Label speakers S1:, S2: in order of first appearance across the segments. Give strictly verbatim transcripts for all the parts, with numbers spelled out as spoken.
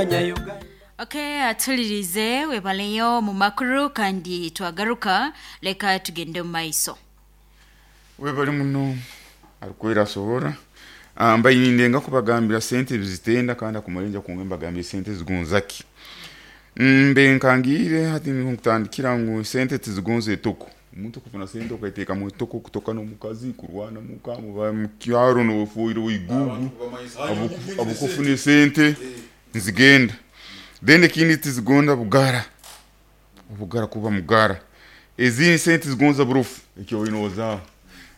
S1: Abanyayuganda.
S2: Okay, atulirize webaleyo mu makuru kandi twagaruka leka tugende mu maiso.
S3: Webali muno arikwera asohora. Ah, mbaine nga kubagambira sente zitenda kandi akumalenja kunge mbagambira sente zigonzaki. Mbe nkangire hati nkutandikira ngu sente tizigonza etoko. Omuntu kufuna sente okaiteeka mu etoko kutoka n'omukazi kurwana muka muba mu kyaro n'ofuire wigugu abukufuna sente nzigenda. Then ekindi tizigonda bugara, obugara kuba mugara. Ezindi sente zigonza burufu ekyo oinozaaho.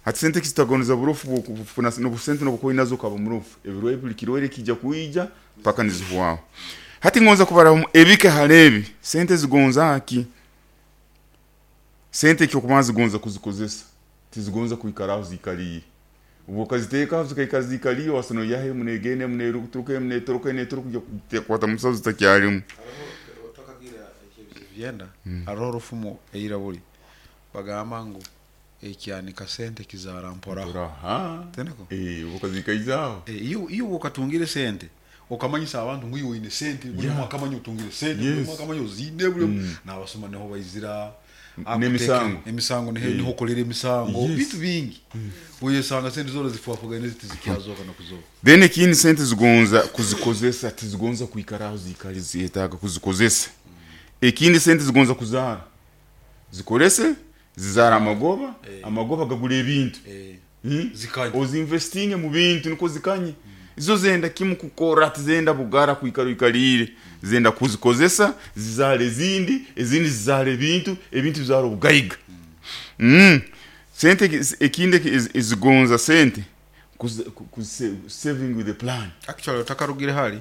S3: Hati sente kizitagonza burufu bwokufuna n'obusente n'obukoyi nazo ukaba murufu ebiro buli kirwaire kijja kwija paka nizihwaho. Hati ngonza kubaramu ebike halebi sente zigonza ki? Sente ekyokubanza zigonza kuzikozesa, tizigonza kwikaraho ziikaliire. Obu okaziteekaho zikaikara ziikaliire wasa noihaho emu negenda, emu neeturuka, emu neeturuka, emu neeturuka kwata musaho zitakyalimu.
S4: Hariho otakagira ekyenda hariho orufumo eiraburi bagamba ngu ekyanika sente kizaara mporaho.
S3: Aha.
S4: Teneko?
S3: Eh, obu okazikaizaho.
S4: Eh, iyo iyo okatungire sente okamanyisa abantu ngu iwe oine sente buli
S3: Yeah.
S4: omwe akamanya otungire sente buli
S3: Yes.
S4: omwe akamanya oziine buli omwe n'abasuma niho baizira
S3: N'emisango.
S4: emisango niho
S3: Eh.
S4: niho okolera emisango
S3: Yes.
S4: bintu bingi oyesanga sente zona zifuafugane ziti zikyazoka nokuzoka.
S3: Then ekindi sente zigonza kuzikozesa, tizigonza kwikaraho ziikali ziyetaaga kuzikozesa. Ekindi sente zigonza kuzaara, zikorese zizaara amagoba, amagoba gagura ebintu.
S4: Eh,
S3: Hmm?
S4: zikanye.
S3: Ozinvestinge mu bintu niko zikanye. Izo zenda kimu kukora, tizenda bugara kwikara ikaliire, zenda kuzikozesa zizaara ezindi, ezindi zizaara ebintu, ebintu bizaara obugaiga. Mm. Sente eki- ekindi eki- ezi- ezigonza sente kuzi- ku- ku- saving with the plan.
S4: Actually otakarugire hali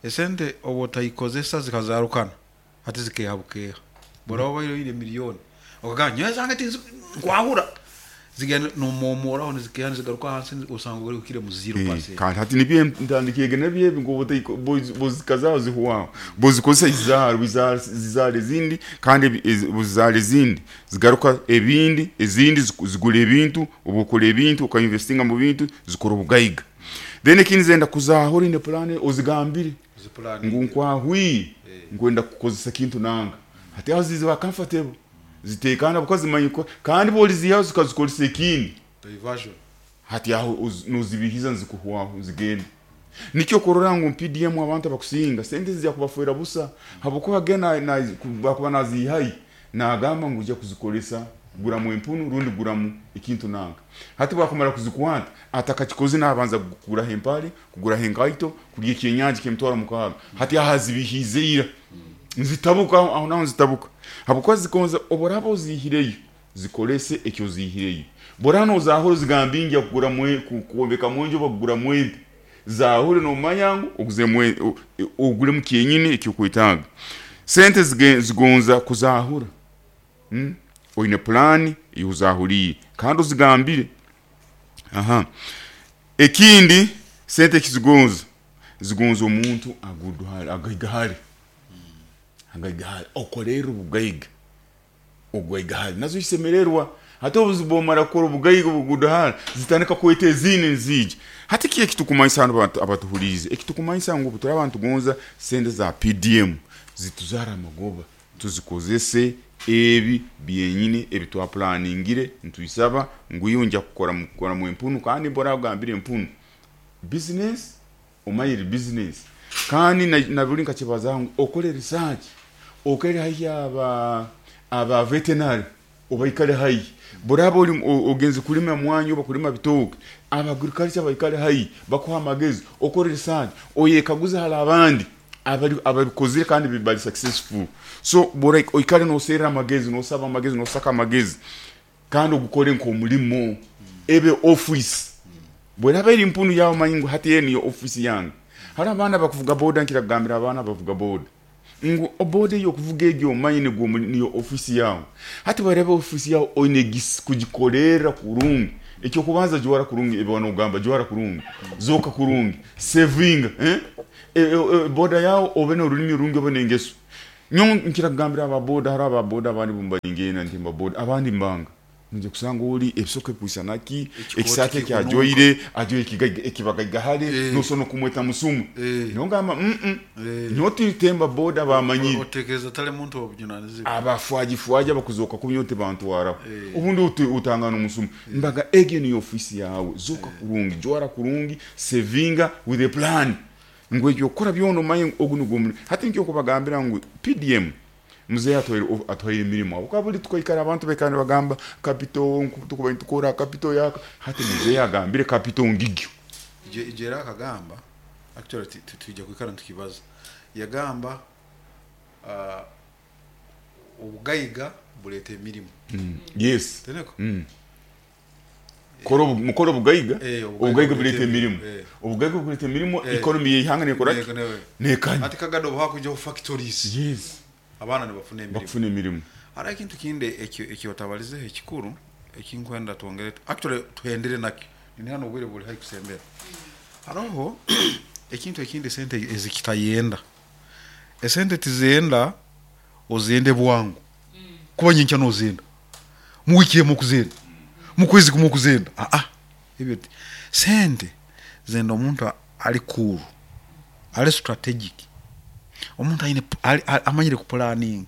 S4: esente oba otayikozesa zikazarukana hati zikeha bukeha bora obaire oine miliyoni okagamba nyowe zange tinzi nkwahura zigenda nomomoraho nizikeha nizigaruka hansi osanga ori ukire mu zero
S3: Eh,
S4: percent.
S3: kandi hati nibyo ntandikiege nabyo ebi ngu bozikazaho zihwaho bozikozesa zizaara bizaara zizaara ezindi kandi ebi- ezi- buzizaara ezindi zigaruka ebindi ezindi ziku- zigura ebintu oba okora ebintu okainvestinga mu bintu zikora obugaiga. Then ekindi zenda kuzahura ine plan ozigambire
S4: Zipulani.
S3: ngu nkwahwire nkwenda kukozesa kintu nanga hati aho ziziba comfortable zitekana buko zimanyi ko kandi bolizihaho zikazikozesa ekindi
S4: Diversion.
S3: hati aho uz- nozibihiza nzikuhwaho zigenda. Nikyo kurora ngu P D M abantu abakusinga sente zijya kubafuera busa habwokuba gena na bakuba nazihayi nagamba ngu ujya kuzikolesa guramu empunu rundi guramu ekintu nanga. Hati bwakumara kuzikwata atakakikoze nabanza kugura hempare, kugura henkaito, kurya ekyenyanja kemutwara mukaaga. Hati aho azibihize ira nzitabuka aho naho nzitabuka habwokuba zikonza oboraba ozihireyo zikolese ekyo zihireyo bora nozahura zigambingi kugura mwe ku- kuombeka mwenjo bakugura mwempe zahure nomanya ngu oguze mwe o- ogure mu kyenyini ekyo kwetaaga. Sente zige- zigonza kuzahura. Hmm? Oine plan yuzahuriye kandi ozigambire. Aha. Ekindi sente kizigonza zigonza omuntu aguduhare agaigahare agaigahare okorera obugaiga ogwaigahare nazo isemererwa. Hati obuzibu omara kukora obugaiga obuguduhare zitandika kweta ezindi nzija. Hati ki ekitukumanyisa hano abantu abatuhuriize ekitukumanyisa ngu turi abantu gonza sente za P D M zituzara amagoba tuzikozese ebi byenyini ebi twaplaningire ntuisaba ngu iyo nja kukora mu kukora mu empunu kandi mbora kugambira empunu business omayire business kandi na, na buli nkakibaza ngu okore research okere haihi aba aba veterinary obaikale haihi boraba ori o- ogenze kulima mwanyi oba kulima bitoke aba agriculture baikale haihi bakuha amagezi okore research oyekaguza hala abandi abali ababikozire kandi bibali successful. So bora oikale nosera amagezi nosaba amagezi nosaka amagezi kandi ogukore nk'omulimo ebe office bweraba eri mpunu yawe manyi ngu hati niyo office yange. Hari abaana bakuvuga boda nkira kugambira abaana bavuga boda ngu boda eyo kuvuga egyo omanyi nigwo muli- niyo office yawe. Hati bweraba office yawe oine gis- kugikorera kurungi ekyo kubanza jwara kurungi ebyo wanogamba jwara kurungi zoka kurungi saving eh? E, e, e, boda yawe obe n'orulimi rungi obe n'engeso. Nyo nkira kugambira aba boda hari aba boda abandi bumbaringena nti mba boda abandi mbanga Nje kusanga oli ebisoke kwisanaki
S4: Ekikooti
S3: ekisake
S4: kikunuka.
S3: kyajoire ajoire ekigaiga ekibagaigahale
S4: Eh.
S3: nosono kumweta musumu
S4: Eh.
S3: nongamba mm -mm.
S4: Eh.
S3: nyotitemba boda bamanyire
S4: otekereza tali muntu obujunanizibwa
S3: abafwajifwaji abakuzoka kubyo tebantwaraho
S4: Eh.
S3: obundi uti- utangana omusumu mbaga egyo niyo ofisi yawe zoka kurungi jwara kurungi sevinga with a plan ngu ekyo okukora byona omanye ogu nigwo omulimu hati nikyo okubagambira ngu P D M muzeeyi atwaire atwaire emirimu abo kabuli tukaikara abantu baikara nibagamba capital tukuba nitukora capital yaka hati muzeeyi agambire capital ngigyo.
S4: Ije ije era akagamba, actually ti- ti- tuija kwikara ntukibaza, yagamba uh, obugaiga buleeta emirimu.
S3: Yes.
S4: Teneko.
S3: Mm. Kora obu- mukora obugaiga.
S4: Eh,
S3: obugaiga buleta emirimu.
S4: Eh.
S3: Obugaiga buleta emirimu.
S4: Eh.
S3: Economy yeihanga nekora ki?
S4: Neko- newe.
S3: Nekanya.
S4: Ati kagado obuhakujaho factories,
S3: yes
S4: abaana nibafuna emirimu.
S3: Bakufuna emirimu.
S4: Hariho ekintu kindi ekyo ekyotabalizeho ekikuru ekinkwenda twongere, actually tuhendere nakyo nini hano, obwire buli haihi kusembera. Hariho ekintu ekindi esente ezikitayenda, esente tizenda ozende bwangu, kuba nyenkya nozenda, mu wiki emu okuzenda, mu kwezi kumwe okuzenda. Aa, ebyo ti- sente zenda omuntu ali cool, ali strategic, omuntu aine ali- ali- amanyire kupulaninga.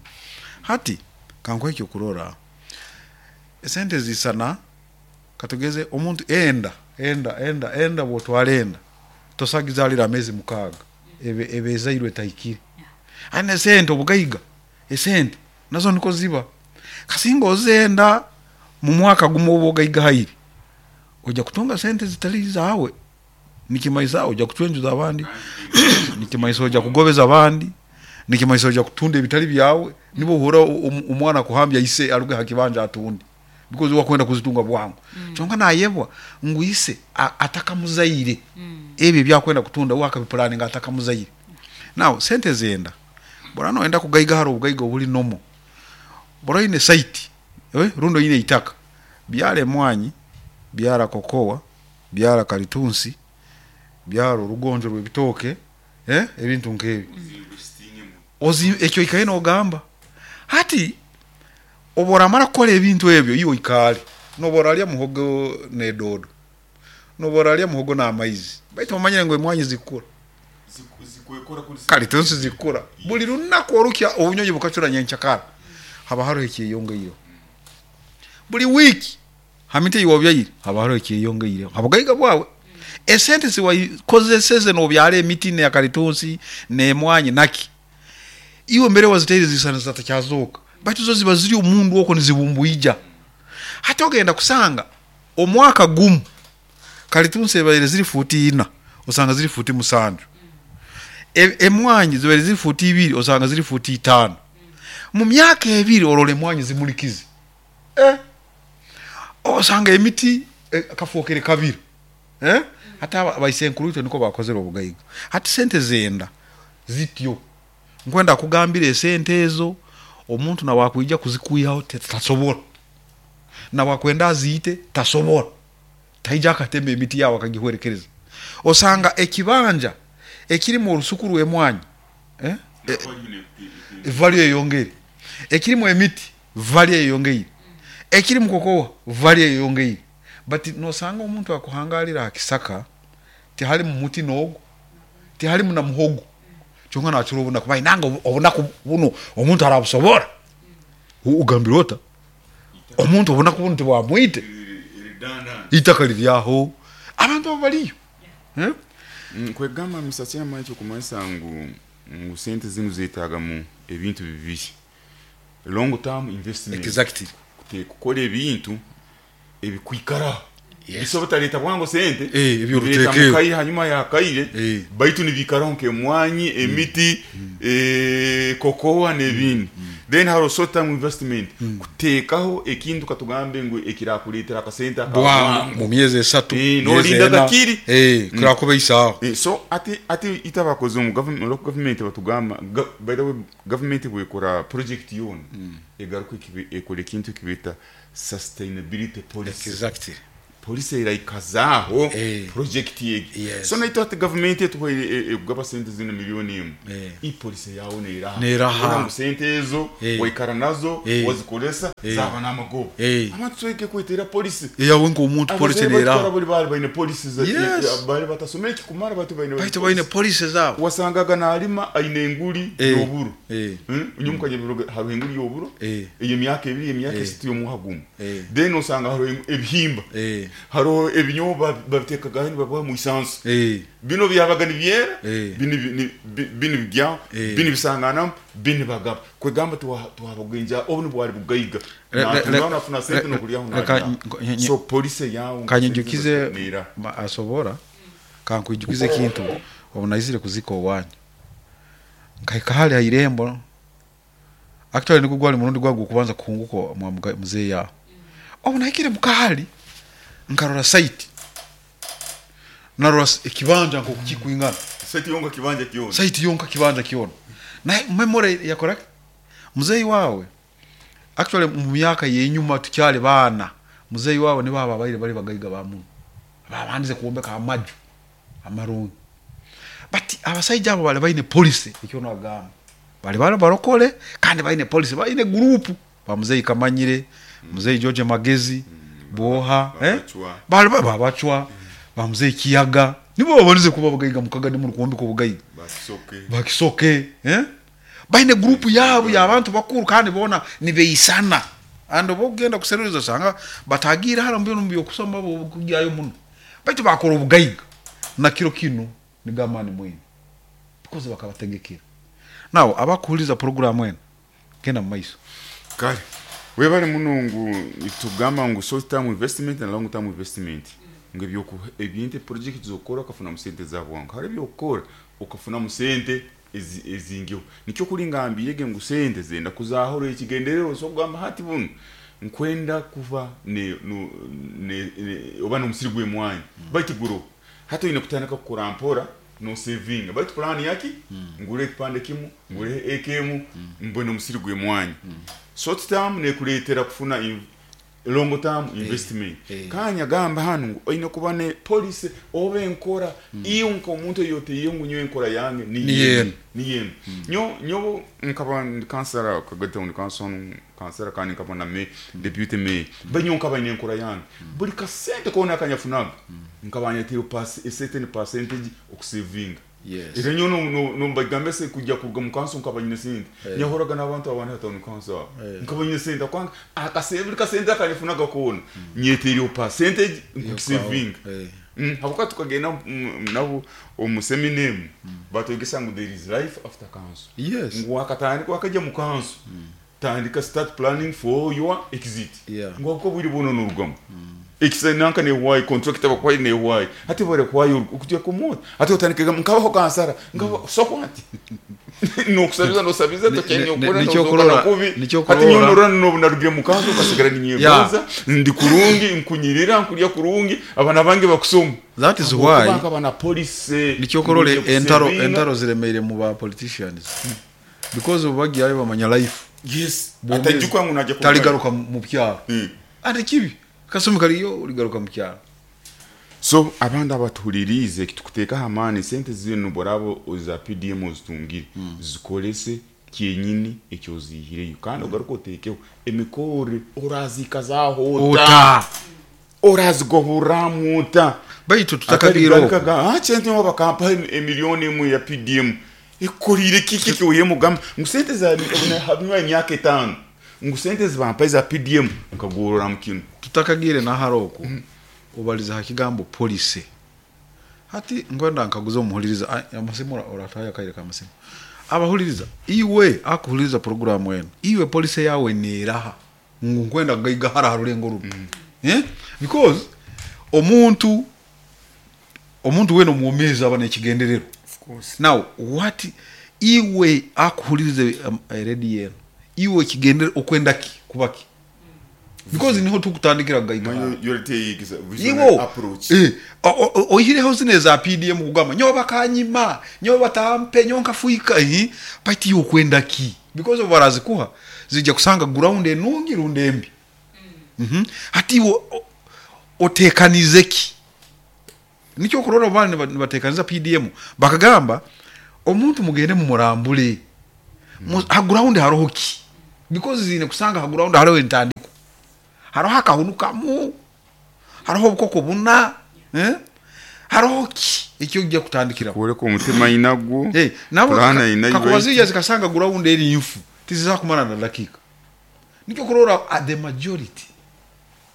S4: Hati kankuhe ekyokurora, esente zisana katugeze omuntu enda enda enda enda bwotwara enda tosagizalira amezi mukaaga, ebe ebe ezairwe etahikire. Aine esente, obugaiga, esente nazo niko ziba, kasinga ozenda mu mwaka gumu oba ogaiga haire, ojja kutunga sente zitali zawe, nikimaisa ojja kucwenjuza abandi, nikimaisa ojja kugobeza abandi, nikimaisa ojja kutunda ebitali byawe. Nibo uhura um- omwana kuhambya ise aruge hakibanja atunde because wakwenda kuzitunga bwangu mm. Kyonka nayebwa ngu ise a- atakamuzaire mm. Ebyo ebyakwenda kutunda we akabipulaninga atakamuzaire. Now sente zenda bora noenda kugaiga, hari obugaiga obuli nomo, bora oine site, eh, rundi oine itaka, byara emwanyi, byara kokowa, byara kalitunsi, byara orugonjo rw'ebitooke, eh, ebintu nk'ebyo. Ozi ekyo ikaye nogamba hati oba oramara kukora ebintu ebyo, iwe oikaale noba oralya muhogo n'edodo, noba oralya muhogo n'amaizi, baitu omanyire ngu emwanyi zikukura, kalitunsi zikukura buli lunaku, orukya obunyonyi bukacura nyenkyakara, haba hariho ekyeyongeireho buli wiiki hamiti eyiwabyaire, haba hariho ekyeyongeireho habugaiga bwawe. Esente ziwakozeseze nobyara emiti nekalitunsi nemwanyi naki, iwe mbere waziteire zisana zitakyazoka, baitu zo ziba ziri omundu okwo nizibumbuija. Hati ogenda kusanga omwaka gumu kalitunsi ebaire ziri futi ina, osanga ziri futi musanju. E- emwanyi zibaire ziri futi ibiri, osanga ziri futi itaano. Mu myaka ebiri orora emwanyi zimulikize, eh? Osanga emiti eh, kafuukire kabiri, eh? Hati aba- baisenkuru itwe niko bakozere obugaiga. Hati sente zenda zityo, nkwenda kugambira esente ezo omuntu nawakwija kuzikwihaho te- tasobora, nawakwenda aziite tasobora, taija akatema emiti yawe akagihwerekereza. Osanga ekibanja ekirimu orusuku rw'emwanyi, eh? Value eyongere, ekirimu emiti value eyongeire, ekirimu kokowa value eyongeire, but nosanga omuntu akuhangalira ha kisaka tihalimu muti n'ogu, tihalimu na muhogo, kyonka nakira obunaku bainanga obunaku buno omuntu arabusobora. U- ugambire ota omuntu obunaku buno tibwamwite, itaka liryaho abantu abo baliyo, eh?
S3: Mm, kwegamba misatsi yamaicho kumanyisa ngu ngu sente zinu zetaaga mu ebintu bibiri: long term investment,
S4: exactly
S3: Kute- kukora ebintu ebikwikara.
S4: Yes.
S3: Bisobola butaleta bwangu sente,
S4: Eh, ebyoruteekero.
S3: bireeta mukaire hanyuma yakaire,
S4: Eh.
S3: baitu nibikaraho nk'emwanyi, emiti, eh, kokowa n'ebindi. Then hariho short term investment, kuteekaho ekintu katugambe ngu ekirakuleetera akasente
S4: bwangu
S3: akabwangu
S4: mu myezi esatu,
S3: Eh,
S4: myezi
S3: nolinda
S4: ena.
S3: gakiri.
S4: Eh, kirakuba isaawa.
S3: Eh, so ati ati ita bakoze mu government, local government batugamba ga- by the way, government bwekora project yona egaruka ekibi- ekora ekintu ekibita sustainability policy.
S4: Exactly.
S3: Policy eraikazaho
S4: Eh.
S3: project yegi.
S4: Yes.
S3: So naitwe ati gavumenti etuhaire ekugaba sente zino miliyoni emu,
S4: Eh.
S3: i policy yawe neeraha?
S4: Neeraha.
S3: Kubona ngu sente ezo
S4: Eh.
S3: waikara nazo,
S4: Eh.
S3: wazikoresa,
S4: Eh.
S3: zaba n'amagoba.
S4: Eh.
S3: Abantu tweke kwetera policy.
S4: Eyawe nk'omuntu policy
S3: Abazeeyi
S4: neeraha.
S3: batwara buli bali baine policy za-
S4: Yes.
S3: eh, bali batasomere kikumara batu baine
S4: Baitu baine policy zaabo.
S3: Wasangaga nalima aine enguli
S4: Eh.
S3: y'oburo.
S4: Eh.
S3: Hmm? Unyumuka nyebiroga hariho enguli y'oburo
S4: Eh.
S3: ey'emyaka ebiri, emyaka
S4: Eh.
S3: esatu, y'omuha gumu.
S4: Eh.
S3: Then osanga hariho engu- ebihimba,
S4: Eh.
S3: hariho ebinyobo babiteekagaho nibabiha mu isansi.
S4: Eh.
S3: Bino byabaga nibyera,
S4: Eh.
S3: bino bi- ni- bi- bino bijyaho,
S4: Eh.
S3: bino bisanganamu, bino bagaba kwegamba tuwabagenja obu nibwali bugaiga.
S4: Re- re-
S3: Natunga
S4: re-
S3: nafuna sente
S4: re-
S3: nokulyaho.
S4: reka
S3: nalya.
S4: nye- nye-
S3: So policy yawe
S4: Kanyijukize
S3: neera.
S4: ma- asobora kankwijukize ekintu. Obu naizire kuzika owanyu, nkahika hali ha irembo. Actually nigwo gwali murundi gwange okubanza kuhunguka mwa muga- muzeeyi aho. Obu nahikire mukahali nkarora site, narora s- ekibanja nkoku kikwingana.
S3: Sente yonka kibanja kyona.
S4: Site yonka kibanja kyona. Naye memory yakora muzeeyi wawe. Actually mu myaka yenyuma tukyali baana, muzeeyi wawe nibo abo abaire bali bagaiga ba muno, babandize kwombeka amaju amarungi. But abasaija abo bali baine policy. Ekyo nagamba bali bali barokole kandi baine policy, baine group ba muzeeyi Kamanyire, muzeeyi George Magezi Boha, eh?
S3: Babacwa.
S4: Bali ba- babacwa ba muzeeyi Kiyaga nibo babanize kuba bagaiga mukaga nimuri kwombeka obugaiga.
S3: Bakisoke.
S4: Bakisoke, eh? Baine gurupu yabo y'abantu bakuru kandi bona nibeisana. And oba ogenda kuserereza osanga batagiire hara mu bintu byokusoma bo kugyayo muno, baitu bakora obugaiga na kiro kino nigamani mwine because bakabategekera. Now abakuhuliza programu eno, genda mu maiso.
S3: Kale webale muno. Ngu tugamba ngu short term investment na long term investment, ngo ebyoku ebintu project zokora ukafuna mu sente za bwangu, hari ebyokukora ukafuna mu sente ezi- ezingiho. Nikyo kuri ngambiyege ngu sente zenda kuzahoro ekigendererwa. So kugamba hati buno nkwenda kuva ne, no, ne, ne oba n'omusiri gw'emwanyi, baitu guro hati oyine kutandika kukora mpora no saving, baitu plan yaki ngure ekipande kimu, ngure eka emu, mbone omusiri gw'emwanyi. Short term nekuleetera kufuna in- long term investment.
S4: Eh.
S3: Kanya gamba hano ngu oyine kuba ne policy oba enkora iyo nk'omuntu eyoteiye ngu nyowe enkora yange ni
S4: Ni
S3: yenu.
S4: yenu.
S3: Ni yenu. Nyo nyobo nkaba ndi kansara Kagadi Town Council, kansara kandi nkaba na me deputy mayor, banyo nkaba ine enkora yange. Buli kasente kona akanyafunaga nkaba nyatiro pass a certain percentage okusavinga.
S4: Yes.
S3: Era nyo no no mbagambe se kujya kuruga mu council nkaba nyine sente, nyahoraga n'abantu abandi ha town council abo. Nkaba nyine sente kwanga akasente, buli kasente akanyafunaga kona nyeteriyo percentage nkusavinga.
S4: Eh.
S3: Mm, habuka tukagenda mm, nabo omu seminemu batwegesa ngu there is life after council.
S4: Yes.
S3: Ngu wakatandika wakajya mu council, tandika start planning for your exit.
S4: Yeah.
S3: Ngu uko bwiri buno nurugamu ekisa nanka ne why contract abakwai ne why hati bore kwayo ukujya kumota hati utandika nkabaho kansara nkaba so what nokusabiza nosabiza
S4: Ni-
S3: tokenye
S4: ni-
S3: ukora
S4: nicyo
S3: nozokana
S4: kurora-
S3: kubi.
S4: Nicyo
S3: Hati
S4: kurora.
S3: nyonorora no narugire mu council ukasigara ninyegonza ndi kurungi, nkunyirira nkulya kurungi, abana bange bakusoma.
S4: That is why
S3: Kubanga bana policy.
S4: Nikyo kurora
S3: ngujya
S4: entaro
S3: kusavinga.
S4: Entaro ziremeire mu ba politicians because ubu bagiyayo bamanya life.
S3: Yes.
S4: Bwomezi.
S3: Atajukwa ngu najya
S4: Taligaruka mu byaro.
S3: Mm.
S4: Ate kibi kasumi kaliyo uligaruka mu kyaro.
S3: So abandi abatuhulirize, kitukuteekaho amaani, sente zino borabo za P D M ozitungire, zikorese kyenyini ekyozihireyo kandi ogaruka oteekeho emikore orazikazaho ota,
S4: ota
S3: orazigoboramu ota.
S4: Baitu tutakagira okwo.
S3: Kyente nabo bakampa emiliyoni emwe ya P D M, ekorire kiki kyoye mugamba ngu sente za habinywa emyaka etaano ngu sente zibampa za P D M nkagorora mu kino.
S4: Tutakagire nahari okwo, ubaliza ha kigambo policy. Hati ngwenda nkaguza omuhuliriza. Ah, amasimu ora- orataya kaire kamasimu. Abahuliriza, iwe akuhuliriza programu eno, iwe policy yawe neraha ngu nkwenda gaiga hara harulengo runo, eh? Because omuntu omuntu wena omwomezi aba nekigendererwa. Now what iwe akuhuliriza um, radio eno, iwe kigendere okwenda ki kuba ki? Because niho tukutandikira gaiga hara.
S3: Iwo
S4: Iwo eh, o- o- o- oihireho zino eza P D M kugamba nyowe bakanyima, nyowe batampe, nyowe nkafuika, eh, baitu iwe okwenda ki? Because obu barazikuha zijja kusanga ground enungi rundi embi. Mhm. Hati iwe o- Otekanize ki? Nikyo kurora bali nibatekaniza P D M bakagamba omuntu mugende mumurambule. Mm. Ha ground haroho ki? Because zine kusanga ha ground haroho entandiko. Haroho akahunukamu. Haroho obukoko buna, eh? Haroho ki ekyo ojja kutandikira.
S3: Kuoleka omutima inagwo.
S4: Eh, nabo kakuwazija zikasanga ground eri nfu. Tiziza kumara na dakika. Nikyo kurora the majority.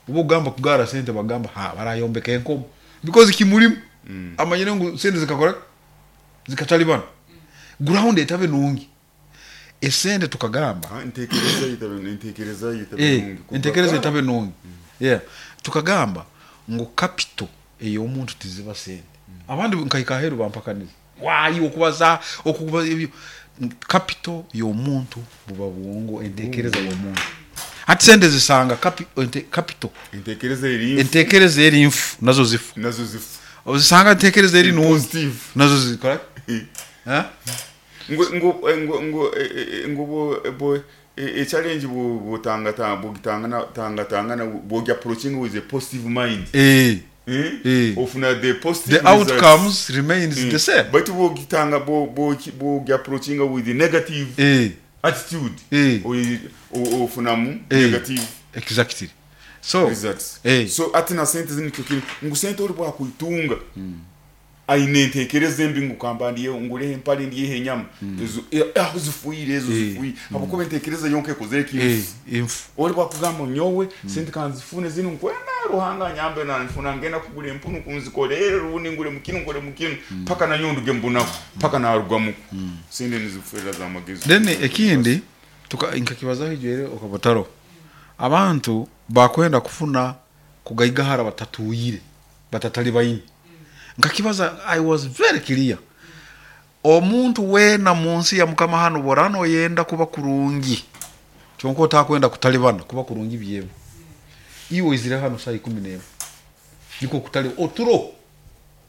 S4: Ubo gamba kugara sente bagamba ha barayombeka enkomo. Because kimulimu mm. amanyire ngu sente zikakora zikatalibana. Mm. Ground etabe nungi. Esente tukagamba
S3: ah ntekereza itabe ntekereza itabe
S4: nungi. Ntekereza itabe nungi. Mm. Yeah. Tukagamba ngo capital eyo omuntu tiziba sente. Mm. Abandi nkaika heru bampakaniza. Wayi okubaza okubaza ebyo capital y'omuntu buba buwongo entekereza y'omuntu. Ati sente zisanga capi, ente, capital
S3: entekereza eri
S4: entekereza eri nfu nazo zifu
S3: nazo zifu.
S4: Ozisanga entekereza eri nungi nazo zikora. Eh?
S3: Ngo ngo ngo ngo ngo bo e challenge bo botanga ta bogitanga tanga tanga bo approaching with a positive mind.
S4: Eh.
S3: Eh?
S4: Eh.
S3: Ofuna the positive
S4: the outcomes remains mm. the same.
S3: But bogitanga bo bo bo approaching with the negative
S4: eh.
S3: attitude.
S4: Eh.
S3: O ofuna mu
S4: eh.
S3: negative.
S4: Exactly. So
S3: results.
S4: Eh.
S3: So atina sente zinikyo ngu sente ori bwakuitunga.
S4: Mm.
S3: Aine ntekereza embi ngukamba ndiye ngure empali ndiye enyama ezo aho zifuire ezo zifuire abakobe ntekereza yonke ekozere ki
S4: eh infu
S3: ori bakugamba nyowe sente kanzifune zino nkwenda ruhanga nyambe na nfuna ngenda kugura empunu kunzikorere rundi ngure mukino ngure mukino paka na nyonduge mbunako paka na arugwamu sente nizifurira za magezi.
S4: Then ekindi tuka inkakibazaho ijere okabotaro abantu bakwenda kufuna kugaigahara batatuyire batatali bayini. Nkakibaza I was very clear. Omuntu wena munsi ya mukama hano borano yenda kuba kurungi. Kyonko takwenda kutalibana kuba kurungi byebo. Iwe izira hano saa ikumi n'emwe. Niko kutali oturo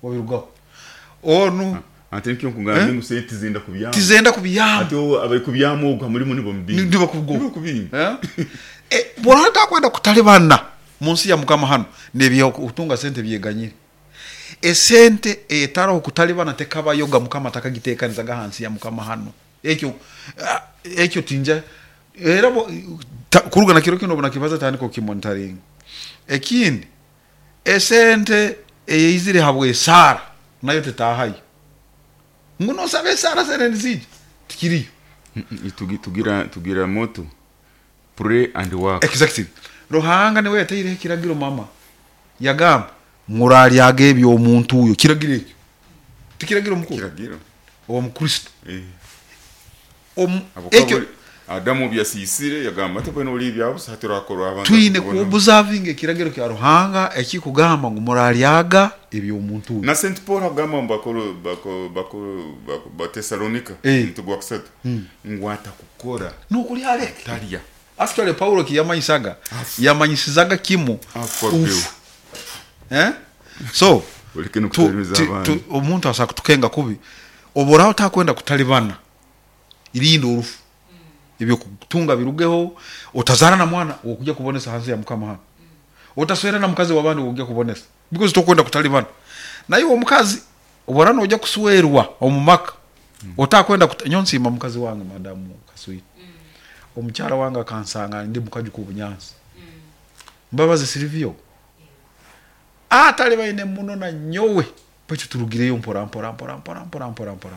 S4: wabirugaho. Onu
S3: ate nkyo nkugamba ngu sente zenda kubyama.
S4: Tizenda kubyama.
S3: Ate abari kubyama ogwa muri muri bombi.
S4: Ndiba kubwo.
S3: Ndiba kubinga.
S4: Eh? Eh borano takwenda kutalibana munsi ya mukama hano nebyo utunga sente byeganyire. Esente etaro kutalibana tekabayoga mukama takagiteekanizaga hansi ya mukama hano ekyo ekyo tinja era kuruga na kiro kino bona kibaza tandiko kimonitoring ekindi esente eyizire habwe sara nayo tetahayo nguno sabe sara sere nzije tikiriyo
S3: itugi tugira tugira moto pray and work.
S4: Exactly. Ruhanga niwe yateire kiragiro mama yagamba muralyaga ebyo omuntu uyo kiragiro ekyo tikiragiro mukuru
S3: kiragiro
S4: owo mukristo
S3: eh
S4: om ekyo
S3: Adamu byasisire yagamba ate bweno oli byabusa haturakorwa abantu
S4: twine kuobserving ekiragiro kya Ruhanga ekikugamba ngu muralyaga ebyo omuntu uyo
S3: na Saint Paul agamba bakoro bako bako ba Thessalonica ntugwa kusatu ngwata kukora
S4: nukuri aleke
S3: talya
S4: actually Paulo kiyamanyisaga yamanyisizaga kimu eh so omuntu asa kutukenga kubi oboraho takwenda kutalibana irindo orufu ebyo kutunga birugeho otazara na mwana okujja kubonesa hansi ya mukama hano otaswera na mukazi wabandi okujja kubonesa because tokwenda kutalibana naye omukazi oborano ojja kuswerwa omumaka mm. otakwenda nyonsima mukazi wange madamu Kaswiti mm. omukyala wange akansanga ndi mukaji ku bunyansi mm. Mbabazi Silvio atali baine muno na nyowe pacho turugireyo mpora mpora mpora mpora mpora mpora mpora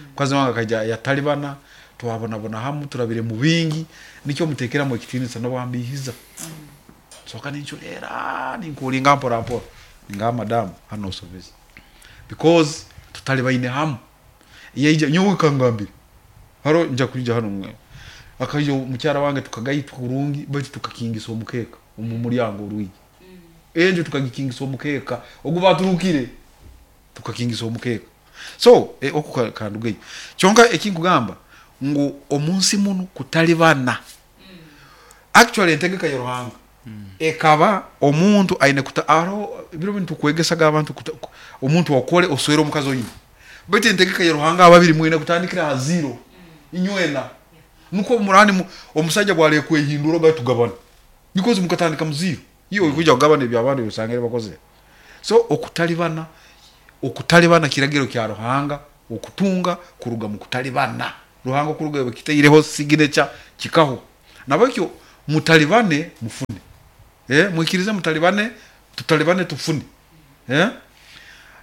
S4: mukazi wange akaja yatalibana twabona bona hamu turabire mu bingi nicyo mutekera mu kitinisa no bambihiza mm. soka ninchulera ninkulinga mpora mpora nga madam hano service because tutali baine hamu yeje nyowe kangambire haro nja kulija hano mwe akayo mukyara wange tukagayitwa kurungi bati tukakingisa omukeka omu mulyango orwigi mm. enjo tukagikingisa omukeka ogubaturukire tukakingisa omukeka so e, okukandugeyo kyonka ekinkugamba ngu omunsi muno kutalibana mm. actually entegeka ya Ruhanga mm. ekaba omuntu aine kuta aro biro bintu kwegesaga abantu omuntu okole oswere omukazi oyini bete entegeka ya Ruhanga ababiri mwine kutandikira ha zero mm. inywena nuko murani omusajja bwale kwehindura gatugabana because mukatandika mu zero Iyo kuja kugabana ebyabandi usangire bakoze. So okutalibana okutalibana kiragiro kya Ruhanga okutunga kuruga mu kutalibana. Ruhanga kuruga bakitaireho signature kikaho. Nabakyo mutalibane mufune. Eh mwikirize mutalibane tutalibane tufune. Eh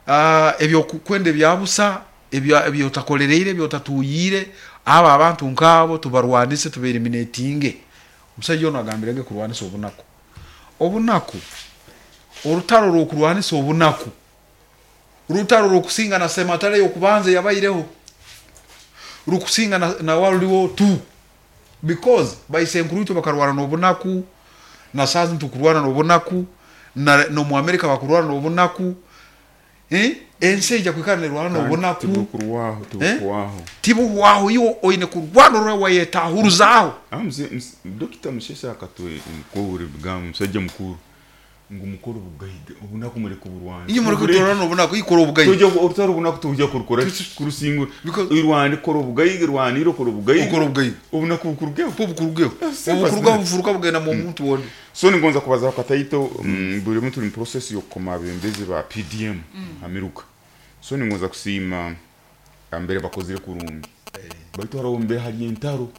S4: ah ebyo kwende byabusa ebyo ebyo takolereire ebyo tatuyire aba abantu nkabo tubarwanise tubeeliminatinge. Omusajja ono agambirege kurwanisa obunaku. Obunaku orutaro rw'okurwanisa obunaku rutaro rw'okusinga na sematare y'okubanza yabaireho rukusinga na, na World War Two because baisenkuruitwe bakarwana n'obunaku na saazi ntukurwana n'obunaku na n'omu Amerika bakurwana n'obunaku eh ensi ejja kwikara nerwana n'obunaku
S3: tibukurwaho tibukuwaho
S4: tibuhwaho iwe oine kurwana orwa wayetahuruzaaho.
S3: Dokita Mushesha akatwe mukuru bigambo musajja mukuru ngu mukuru bugaiga obunaku mureke burwana
S4: iyo mureke turwana obunaku ikora obugaiga
S3: tujya orutaro obunaku tujya kurukora kurusingura irwani kora obugaiga irwaniro kora obugaiga
S4: ukora obugaiga
S3: obunaku bukurugeho
S4: bukurugeho obukurugaho bufuruka bugenda mu muntu wonde.
S3: So ningonza kubaza kataito buri muntu ni process yo koma abembezi ba P D M amiruka. So ningonza kusima ambere bakozire kurungi baitu haro mbere hari entaro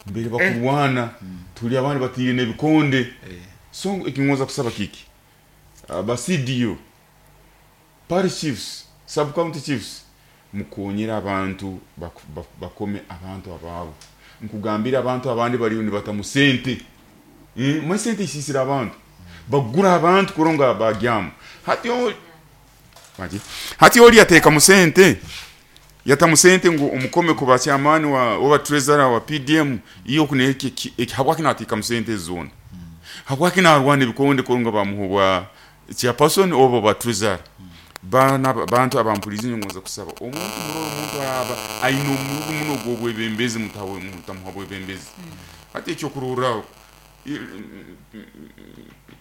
S3: mbere bakurwana tuli abandi batire nebikonde. So ekingonza kusaba kiki aba C D O parish chiefs sub county chiefs mukonyera abantu bakome abantu ababo nkugambira abantu abandi bari ni batamusente eh musente isisira abantu bagura abantu kuronga bagyamu hati maji hati oli ateka musente yatamusente ngu omukome ku bachairman wa oba treasurer wa P D M iyo kuneke habwa kinatika musente zone habwa kinarwana ebikonde kuronga bamuhubwa chairperson oba ba treasurer bana bantu abampulizi ngonza kusaba omuntu muroro omuntu aba aino omuntu muno gobwebembezi mutawe mutamuha bwebembezi ati ekyo kururaho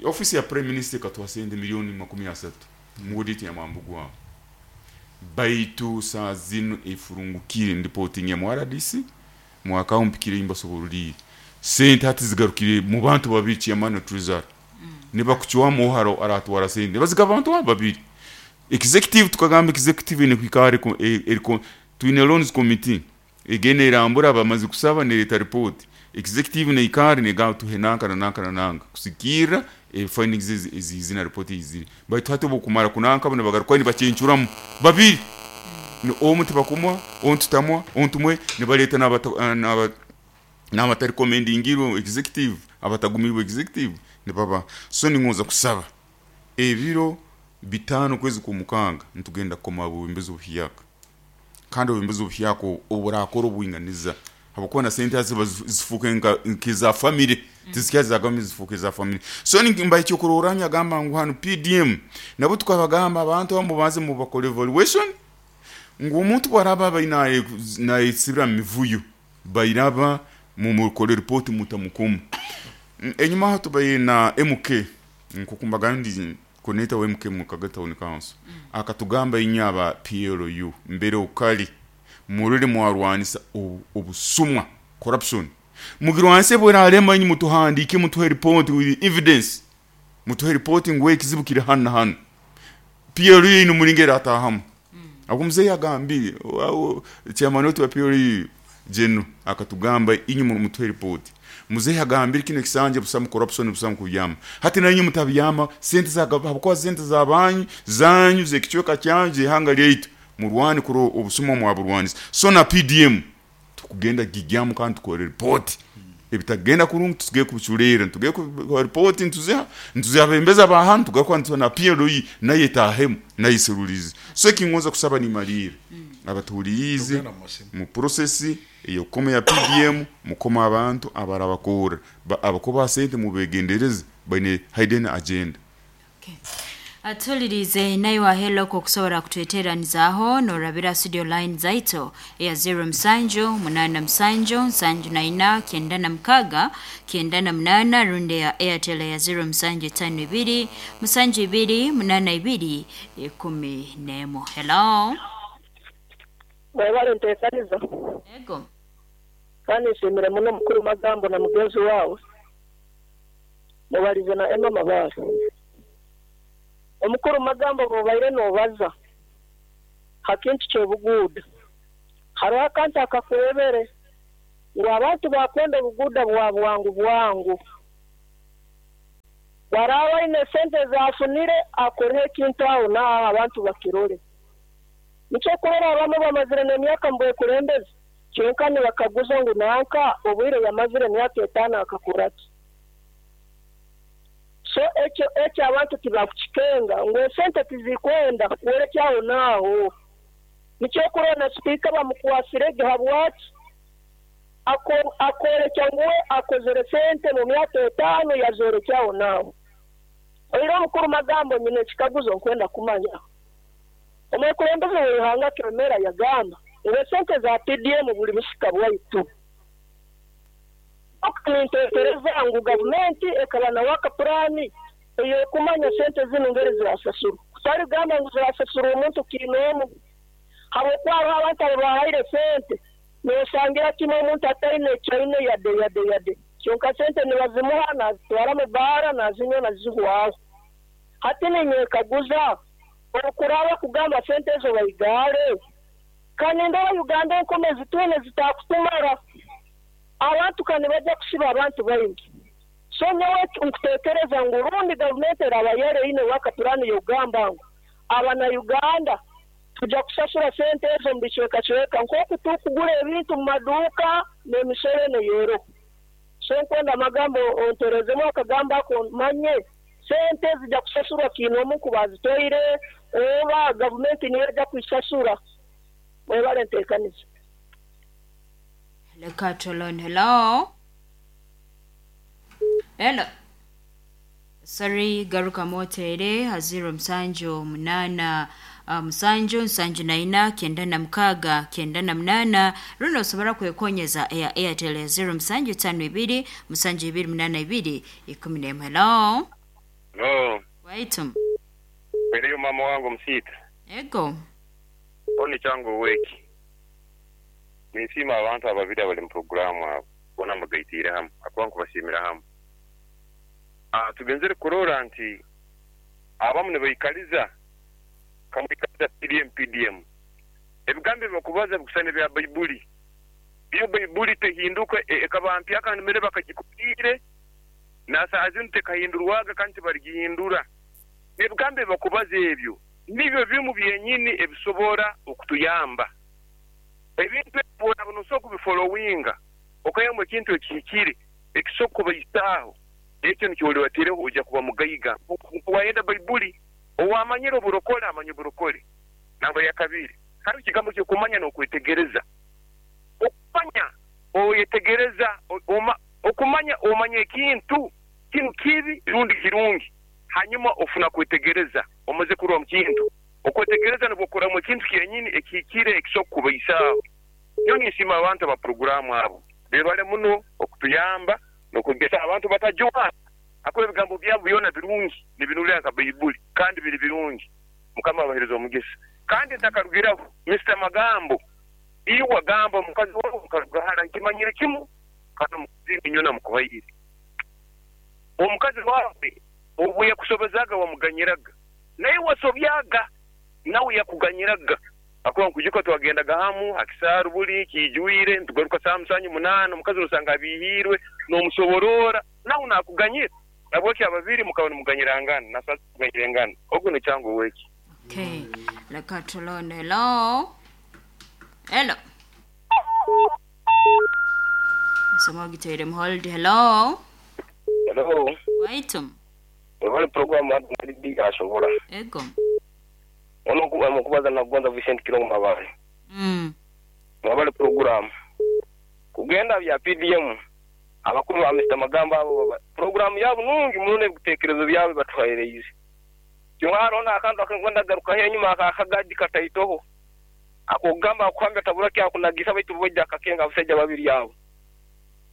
S3: office ya prime minister katwasende milioni makumi asatu mu audit ya Mambugwa baitu saa zino efurungukire ndipoting ya R D C mwaka umpikire imbasoboruli sente hati zigarukire mu bantu babiri chairman treasurer niba kuchwamo haro aratwara sente baziga abantu babiri executive tukagamba executive ne kwikare eriko twine loans committee egene irambura bamaze kusaba ne leta report executive ne ikare ne ga tuhenanka na nanka na nanka kusikira e findings ezizina report iziri baitu hati bokumara kunanka bano bagaruka ni bacencuramu babiri ni omuntu bakumwa ontu tamwa ontu mwe ne baleta naba naba naba recommendingiro executive abatagumirwe executive ne baba. So ningoza kusaba ebiro bitano kwezi kumukanga ntugenda koma bubimbezo buhiyaka kandi bubimbezo buhiyako oburakora obuinganiza habakuwa na sente zifuke nka nkiza family tizikaza gami zifuke za family. So nimba icyo kuroranya gamba ngu hano P D M nabo tukabagamba abantu bamubanze mu bakore evaluation ngu omuntu baraba bayina na isibira mivuyo bayiraba mu mukore report mutamukumu enyuma hato bayina M K nkukumbaga ndi koneta wa M K mu Kagata Town Council akatugamba inyaba P L U mbere ukali murire mwarwanisa obusumwa corruption mugirwanse bwera alema inyi mutuhandike mutuhe report with evidence mutuhe report ngwe kizibukire hano hano P L U ino muringera atahamu akumze yagambire chairman wetu wa P L U jeno akatugamba inyi mutuhe report muzehe agambira kino kisanje busamu corruption busamu kuyama hati nanyu mutabyama sente za habukwa sente za banyu zanyu zekichweka kyanje hanga lyaitu murwani kuro obusuma mwaburwanisa. So na P D M tukugenda gigyamu kandi tukore report ebitagenda kurungu tusige kubichulera tuge ku report ntuziha ntuziha bembeza ba hantu tugakwa na P L U naye tahemu nayiserulizi. So kingoza kusaba ni malire abatulize mu process iyo koma ya P D M mukoma abantu abarabakora abakoba sente mubegendereze bane hidden agenda.
S2: Okay. Atulirize nayo wa hello ko kusobora kutweteranizaaho norabira studio line zaito ya zero msanju munana msanju nsanju na ina kenda na mkaga kenda na mnana runde ya Airtel ya zero msanju tano ibiri msanju ibiri munana ibiri kumi nemo. Hello.
S1: Mwebale ntekaniza.
S2: Yego.
S1: Kandi nshimira muno mukuru magambo na mugenzi wawe. Mubalize na Emma Mabara. Omukuru Magambo bobaire nobaza hakintu kyobuguuda. Hariho akantu akakurebere ngu abantu bakwenda obuguuda bwa bwangu bwangu. Baraba ine sente zafunire akoreho ekintu aho n'aho abantu bakirore. Nikyo kurora abamu bamazire n'emyaka mbwekulembeze kyonka nibakaguza ngu nanka obwire yamazire emyaka etaano akakora ki. So ekyo ekyo abantu tibakukikenga ngu esente tizikwenda kuwerekyaho n'aho. Nikyo kurora na sipiika bamukwasirege habwaki akorekya ngu we akozere sente mu myaka etaano yazorekyaho n'aho. Oiro omukuru Magambo nyine ekikaguzo nkwenda kumanya. Omukulembeze w'ihanga Kiremera yagamba ngu esente za P D M buli busika bwaitu. Nintekereza ngu gavumenti ekaba na waka purani eyokumanya sente zinu ngeri zirasasurwa. Kutari gamba ngu zirasasurwa omuntu kiinoomu. Habwokuba hariho abantu ababahaire sente nosangira kimwe omuntu ataine ekyaine yade yade yade. Kyonka sente nibazimuha nazitwara mu baara nazinywa nazihwaho. Hati ninyekaguza okuraba kugamba sente ezo baigare. Kandi ndaba Uganda enkome zitwine zitakutumara. Abantu kandi bajja kusiba abantu baingi. So nyowe nkutekereza ngu rundi gavumenti eraba yereine waka purani yogamba ngu abana Uganda tujja kusasura sente ezo mu bicwekacweka nk'oku tukugura ebintu mu maduuka n'emisoro neyero. So nkwenda Magambo onterezemu akagamba ako manye sente zijja kusasurwa kiinoomu kubazitoire oba gavumenti niyo ejja kuisasura. Mwebale nteekaniza.
S2: Leka tolon. Hello. Hello. Sorry, garuka motere haziro msanjo munana uh, musanju nsanju na ina kenda na mkaga kenda na mnana runo osobora kwekonyeza ya Airtel zero musanju tano ibiri musanju ibiri munana ibiri ikumi na emu. Hello.
S5: Hello.
S2: Waitum.
S5: Weleyo mama wangu msita.
S2: Ego.
S5: Oni changu weki. Ninsima abantu ababiri abali mu programu abo bona mbagaitire hamu akuba nkubashimira hamu. Ah, tugenzere kurora nti abamu nibaikaliza kamwikaliza P D M P D M. Ebigambo bakubaza bikusana bya Baibuli. Iyo Baibuli tehinduka ekaba mpya kandi mere bakagikupire na saa zinu tekahindurwaga kandi barigihindura. Ebigambo bakubaza ebyo nibyo bimu byenyini ebisobora okutuyamba. Ebintu ebona bunoso kubifollowinga okayamwe ekintu ekihikire ekisoko bayitaho ekyo nikyoliwatireho ojja kuba mugaiga. Wayenda Baibuli owamanyire oburokole amanye oburokole. Namba ya kabiri hariho ekigambo ky'okumanya n'okwetegereza. Okumanya oyetegereza okumanya omanya ekintu kinu kibi rundi kirungi hanyuma ofuna kwetegereza omaze kurwa mu kintu. Okwetegereza nibwo ekintu kyenyini ekihikire ekisoko kubaisaaho. Nyo ninsima abantu aba programu abo bebale muno okutuyamba n'okugesa abantu batajwa akora ebigambo byabo byona birungi nibinulira nka Baibuli kandi biri birungi. Mukama abahereza omugisa. Kandi ntakarugiraho Mister Magambo iyo wagamba omukazi wawe mukarugahara nkimanyire kimu kandi omukazi nyona mukuhaire omukazi wawe obu yakusobezaga wamuganyiraga naye wasobyaga nawe yakuganyiraga. Akuba nkujuka twagendaga hamu hakisaru buli kijuire ntugaruka saa musanju munana omukazi osanga abihirwe n'omusoborora nawe nakuganyira nabweki ababiri mukaba nimuganyirangana na sasa kuganyirangana ogwo ni changu weki.
S2: Okay. Leka tolon. Hello. Hello. Somo giteire hold. Hello.
S6: Hello.
S2: Waitum.
S6: Wale programu hadi ashobora.
S2: Ego.
S6: Ono kubaza na kubanza Vincent Kilongo Mabale.
S2: Mm.
S6: Mabale program. Kugenda bya P D M abakuru ba Mister Magambo abo program yabo nungi munone bitekerezo byawe batuhayereize. Kyonka na akantu akengwenda garuka henyuma akakagaji kataitoho. Akogamba akwambya tabura kya kunagisa baitu bojja akakenga abasajja babiri yabo.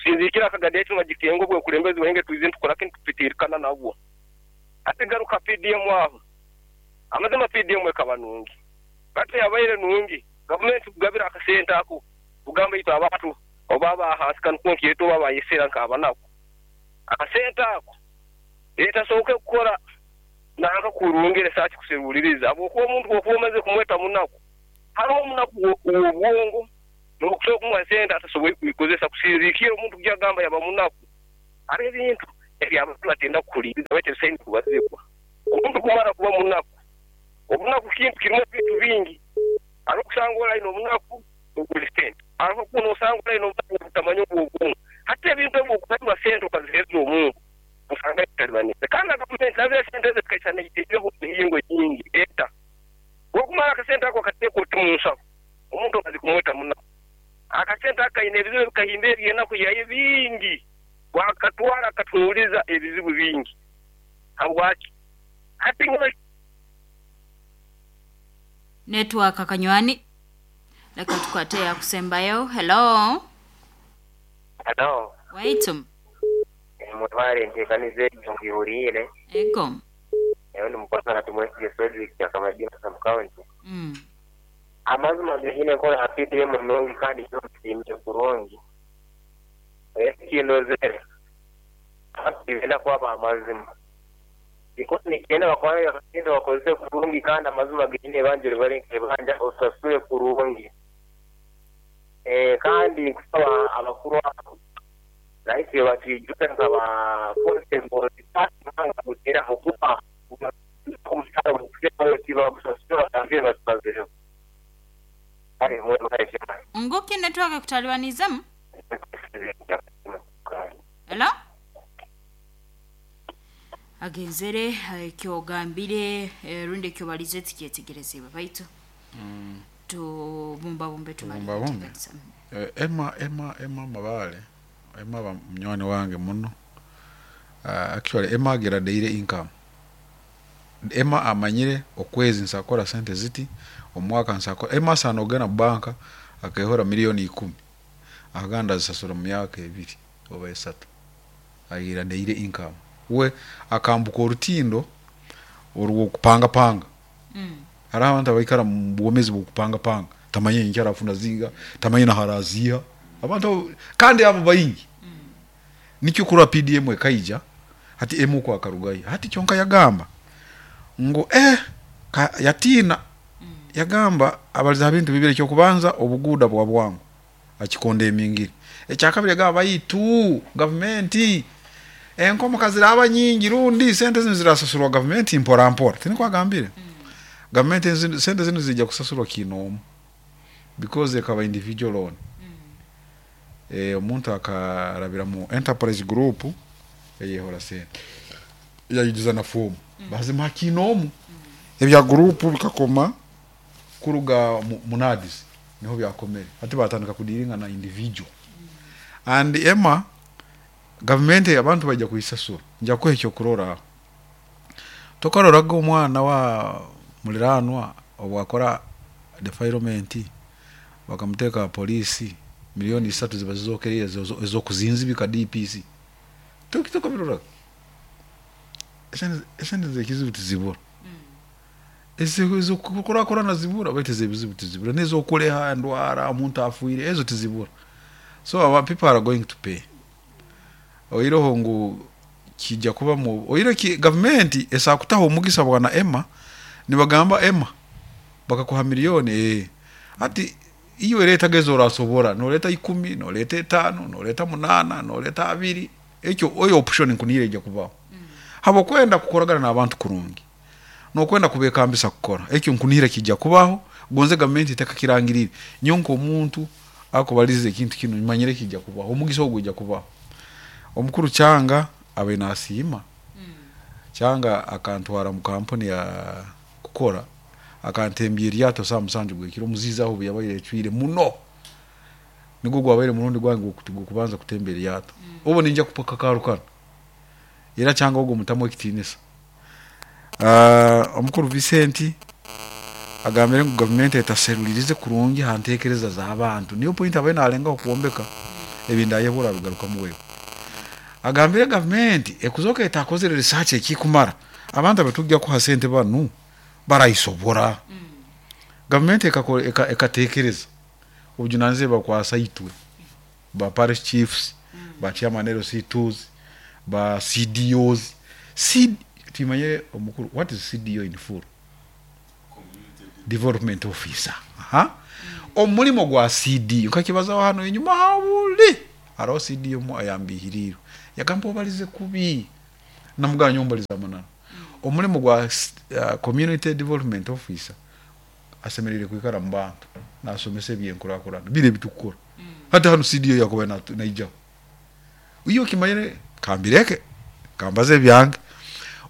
S6: Sinzikira akagadi etu magikengo bwe kulembezi wenge tuize tukora kintu tupitirikana nabwo. Ate garuka P D M aho. Amazima P D M ekaba nungi. Batu yabaire nungi. Government kugabira akasente ako. Kugamba itu abantu obaba ahansi kan konki yetu baba yesera nkaba nako. Akasente ako. Etasoboke kukora nanka kurungire saaki kuseruliriza habwokuba omuntu bw'okuba omaze kumweta munaku hariho omunaku w'obwongo n'okusobola kumuha sente atasoboire kubikozesa kusinziikira omuntu kujagamba yaba munaku. Hariho ebintu eby'abantu batenda kuhuliiriza baitu ebisaine kubazibwa. Omuntu kumara kuba munaku, obunaku kintu kirimu ebintu bingi. Hariho okusanga ori aine obunaku obwa sente, hariho n'osanga ori aine obunaku obutamanya obw'obwongo. Hati ebintu ebi okuhairwa sente okaziheereza omuntu osanga bitalibanisa. Kandi na gavumenti nazo esente ezo zikaisana iteereho emihingo nyingi eta. Bw'okumara akasente ako okateeka oti mu nsaho, omuntu omaze kumweta munaku. Akasente ako kaine ebizibu ebikahimba eby'enaku yaye bingi, bwakatwara akatunuuliza ebizibu bingi. Habwaki? Hati nyowe
S2: Network kanywani. Leka tukwate yakusembayo. Hello.
S7: Hello.
S2: Waitum.
S7: Mutware nteekaniza egyo ngihuriire.
S2: Ego.
S7: Eyo ni mukozi na tumwesige Frederick Akamadina Sub County.
S2: Mm.
S7: Amazima gahine enkola ya P D M nungi kandi nsiimire kurungi. Ekindozere tibenda kwaba amazima. Because nikigenda bakwara akasente bakozese kurungi kandi amazima gahine ebanja oribare nk'ebanja osasure kurungi. Eh, kandi nkusaba abakuru abo rahisi batwijuka nkaba constable nanga kutera okuba omushahara bagusasura batambire batubazireho. Kale mwebale cyane.
S2: Nguki network kutalibanizemu? Hello? Agenzere ekyogambire rundi ekyobalize tikyetegerezebwa baitu. Mm. Tubumbabumbe
S4: tubumbabumbe. Emma Emma Emma Mabale Emma ba munywani wange muno. Uh, actually Emma agira daily income. Emma amanyire okwezi nsakora sente ziti omwaka nsakora. Emma sanogena banka akehora milioni ikumi. Aganda zisasura mu myaka ebiri oba esatu. Agira daily income. We akambuka orutindo orwo kupanga panga. Mm. Hari abantu abaikara mu bwomezi bw'okupanga panga. Tamanye nkyara funa zinga, tamanye na harazia. Abantu kandi abo bayingi. Mm. Nikyo kura P D M ekaija hati emu kwa karugayi. Hati kyonka yagamba ngo eh ka, yatina mm. Yagamba abaliza bintu bibiri kyo kubanza obuguda bwa bwangu akikonde emingiri. Ekyakabiri yagamba bayitu government enkomo kaziraba nyingi rundi sente zino zirasasurwa government mpora mpora. Tiniko agambire. Mm. Government sente zino zijja kusasurwa kinomu because ekaba individual loan. Mm. Eh omuntu akarabira mu enterprise group eyehora sente yayigiza na form. Mm. Bazima kinomu. Mm. Ebya group bikakoma kuruga munadis niho byakomere ati batandika kudiringa na individual. Mm. And Emma government abantu bajja kuyisasura nja kuha ekyo kurora tokaroraga omwana wa muliranwa obwakora defilement bakamuteka polisi milioni isatu ziba zizokereye ezokuzinzibika D P C tokitoka birora esente zekizibu tizibura. Ezo ezo kukora kora nazibura baiteze ebizibu tizibura nezo okuleha ndwara omuntu afuire ezo tizibura. So our people are going to pay. Oiroho ngu kijja kuba mu oiro ki government esakutaho omugisa bwana Emma nibagamba Emma bakakuha milioni eh ati iyo leta gezo orasobora noleta ikumi noleta etano noleta munana noleta abiri ekyo oyo option nkunire ijja kubaho. Mm. Habo kwenda kukoragana n'abantu kurungi nokwenda kubekambisa kukora ekyo nkunire kijja kubaho gonze government iteka kirangirire nyonko omuntu akobalize ekintu kino manyire kijja kubaho omugisa ogwo ijja kubaho. Omukuru Changa abe nasiima. Mm. Changa akantwara mu kampuni ya kukora akantembye eryato saa musanju gwekiro muziza aho yabaire ecwire muno nigwo gwabaire murundi gwange kubanza kutembera eryato. Mm. Obo ninja kupaka karukana era Changa ogwo mutamu ekitinisa. Uh, omukuru Vicente agambire ngu government etaserulirize kurungi hantekereza z'abantu niyo point abaye nalenga okuwombeka ebinda yebura bigaruka muwewe. Agambire government ekuzoka etakozere research ekikumara abantu abatujja kuha sente banu barayisobora. Mm. Government ekatekereza obujunanizibwa bakwasa itwe ba parish chiefs, mm. ba chairman L C twos, ba C D Os. C timanyire omukuru, what is C D O in full? Development officer. Aha. Omulimo gwa C D O nkakibazaho hano enyuma habuli hariho C D O mu ayambihiriro yagamba obalize kubi namuganya ombaliza manana. Omulimo gwa uh, community development officer asemerere kwikara mu bantu nasomesa ebyenkurakurana bire bitukukora. Hata hano C D O yakuba naija iyo kimanyire kambireke kambaze byange.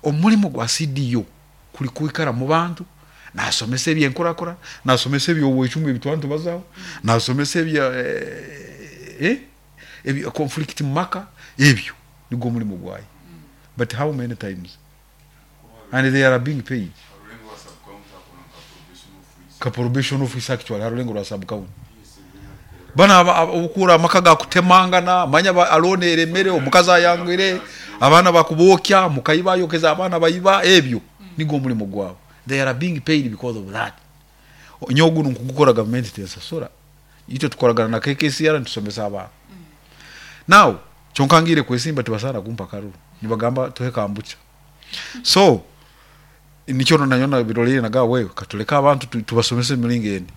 S4: Omulimo gwa C D O kuli kwikara mu bantu nasomesa ebyenkurakura, nasomesa ebyobwecumi ebitwantu bazaho, nasomesa ebya eh ebya conflict maka, ebyo nigwo mulimo gwayo. But how many times? And they are being paid. Ka probation officer actually harulengo rwa sub county. Bana obukura amaka ga kutemangana, manya alone eremere omukaza yangire, abana bakubokya, mukayiba yokeza abana bayiba ebyo nigwo mulimo gwabo. They are being paid because of that. Nyogu nkugukora government tensasura. Ito tukoragana na K K C R ntusomesa abana. Now chonkangire kwesimba tibasara kumpa karuru. Nibagamba tuhe kambucha. So nikyo nanyona birolire naga wewe katuleka abantu tubasomese milingo endi.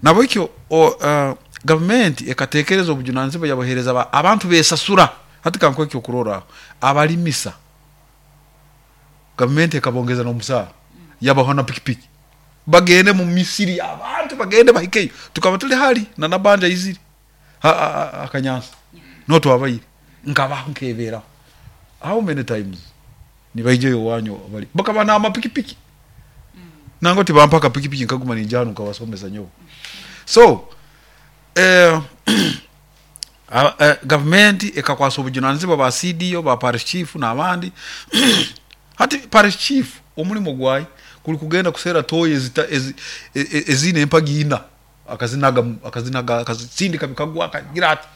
S4: Nabo ikyo uh, government ekatekereza obujunanizibwa yabahereza abantu besasura. Hati kanko ekyo kurora abalimisa. Government ekabongeza n'omusara. Yabaho na pikipiki bagende mu Misiri abantu bagende bahikeyo tukaba tuli hali na nabanja iziri akanyansa no twabayire nkaba nkebera how many times nibaijeyo wanyo bali bakaba na amapikipiki mm. Nango tibampaka pikipiki nkaguma ninjano nkabasomesa nyo. So eh uh, government ekakwasa obujunanizibwa ba C D O ba parish chief n'abandi. Hati parish chief omulimo gwayi kuli kugenda kusera toye ezita ezine empagina akazinaga akazinaga akazindika bikagwa akagira ati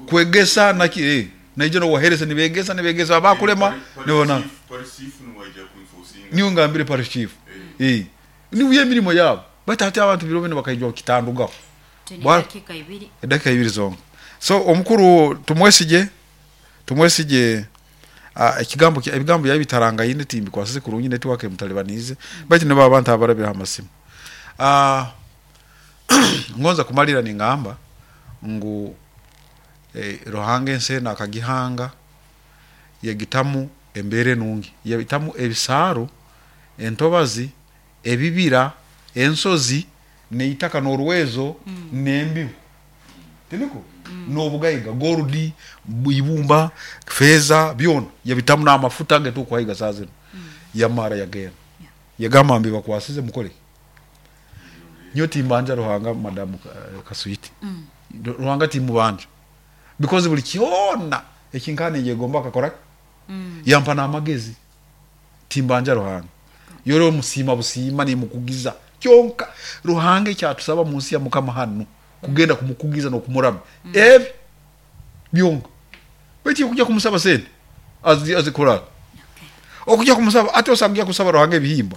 S4: kwegesa naki eh naije no waherese nibegesa nibegesa abakulema nibona niyo ngambire parish chief eh niwe mirimo yabo batati abantu biro bino bakayijwa kitandugaho
S2: dakika ibiri
S4: dakika ibiri zonga. So omukuru tumwesije tumwesije ekigambo ebigambo yabitaranga yine timbi kwasese kurungi network mutalibanize bati ne abantu abarabira amasimu. Ah ngonza kumalira ningamba ngu eh, Ruhanga ense nakagihanga yagitamu embere nungi yabitamu ebisaro entobazi ebibira ensozi neitaka norwezo mm. nembibu tiniko mm. Nobugaiga goldi ibumba feza byona yabitamu na amafuta ngetu kwahiga sazino mm. Yamara yagera yeah. Yagamba mbi bakwasize mukole nyoti mbanja Ruhanga madamu Kasuiti mm. Ruhanga timubanja because buli kyona ekinkane yegomba akakora mm. Yampa na amagezi timbanja Ruhanga yoro musima busima ni mukugiza kyonka Ruhanga cyatusaba munsi ya mukama hano kugenda kumukugiza no kumurama mm. Ebi byonka beti kujya kumusaba sente azi azikora okay. Okujya kumusaba ate osagiya kusaba Ruhanga ebihimba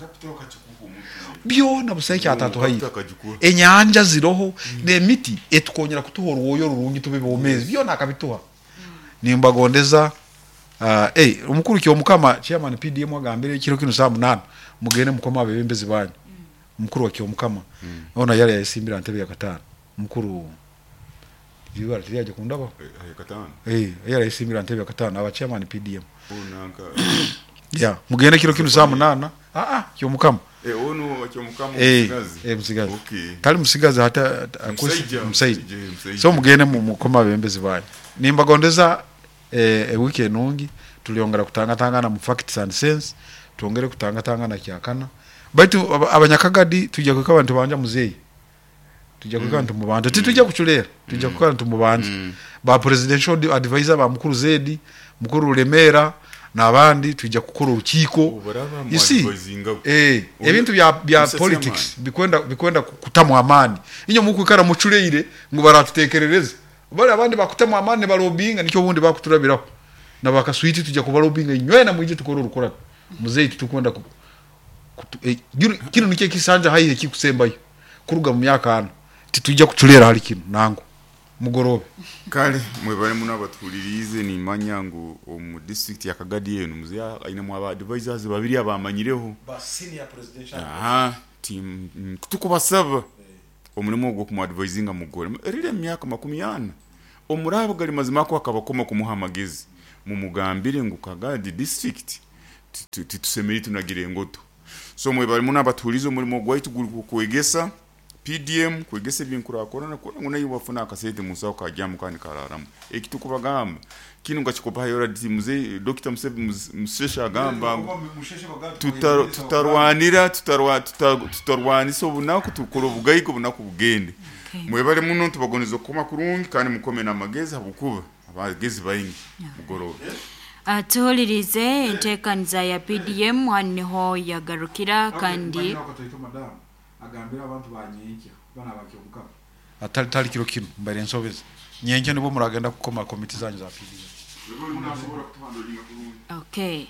S4: byona buseke atatu hayi enyanja ziroho mm. Nemiti etukonyera kutuhora woyo rurungi tube bomezi byona akabituha mm. Nimbagondeza uh, eh omukuru kyo mukama chairman P D M agambire kiro kino saa munana mugende mukoma abebembezi banyu mm. Mukuru wa kyo mukama mm. Ona yale yasimbira ntebe ya katano mukuru ibara tiriyaje kundaba
S3: eh katano
S4: eh yale yasimbira ntebe ya katano aba chairman P D M
S3: unanka
S4: ya mugende kiro kino saa munana ah ah kyo mukama
S3: eh ono kyo mukama musigazi
S4: eh musigazi
S3: okay
S4: tali musigazi hata msaija so mugende mukoma abebembezi banyu nimbagondeza eh wiki enungi tuliongera kutangatangana mu facts and sense tuongere kutangatangana kyakana baitu abanyakagadi tujya kwika abantu banja muzeyi tujya kwika abantu mubanja titujya kuchulera tujya kwika abantu mubanja ba presidential advisor ba mukuru Zedi mukuru Lemera nabandi tujya gukora urukiko you see eh ebintu bya bya politics bikwenda bikwenda kutamwa amani inyo mukwikara muculeire ngo baratutekerereza bali abandi bakutama amani balobinga nikyo bundi bakuturabiraho nabakaswiti tujya kubalobinga inywena mwije tukora urukora muzeyi tukwenda ku eh, kino nikye kisanja hayi kikusembayo kuruga mu myaka ano titujya kuculera hali kino nango. Mugorobe.
S3: Kale mwebale muno abatuhuliriize, nimanya ngu omu district ya Kagadi eno muzeeyi ainemu aba advisors babiri abamanyireho.
S4: Ba senior presidential.
S3: Aha, tim tukubasaba omulimu ogwo kumuadvisinga mugore erire emyaka makumi ana omurabo gali mazima ako akabakoma kumuha amagezi, mumugambire ngu Kagadi district titusemeri tunagire engoto. So mwebale muno abatuhulirize, omulimu gwaitu guri kwegesa P D M, kwegesa ebyenkurakurana kugira ngu nayo bafuna akasente munsaho kajyamu kandi kararamu. Ekitukubagamba kinu ngakikopa yora muze Doctor Museveni Musheshe agamba tutarwanira tutarwa tutarwanisa obunaku tukora obugaiga obunaku bugende. Mwebale muno tubagoniza okukoma kurungi kandi mukome n'amagezi habwokuba abagezi baingi mugorobe.
S2: Tuhulirize enteekaniza ya P D M haniho yagarukira kandi
S4: agambira abantu banyenkya bana bakyomuka atali tali kiro kino mbere nsobeza nyenkya nibo muragenda kukoma komiti zanyu za P D M.
S2: Okay.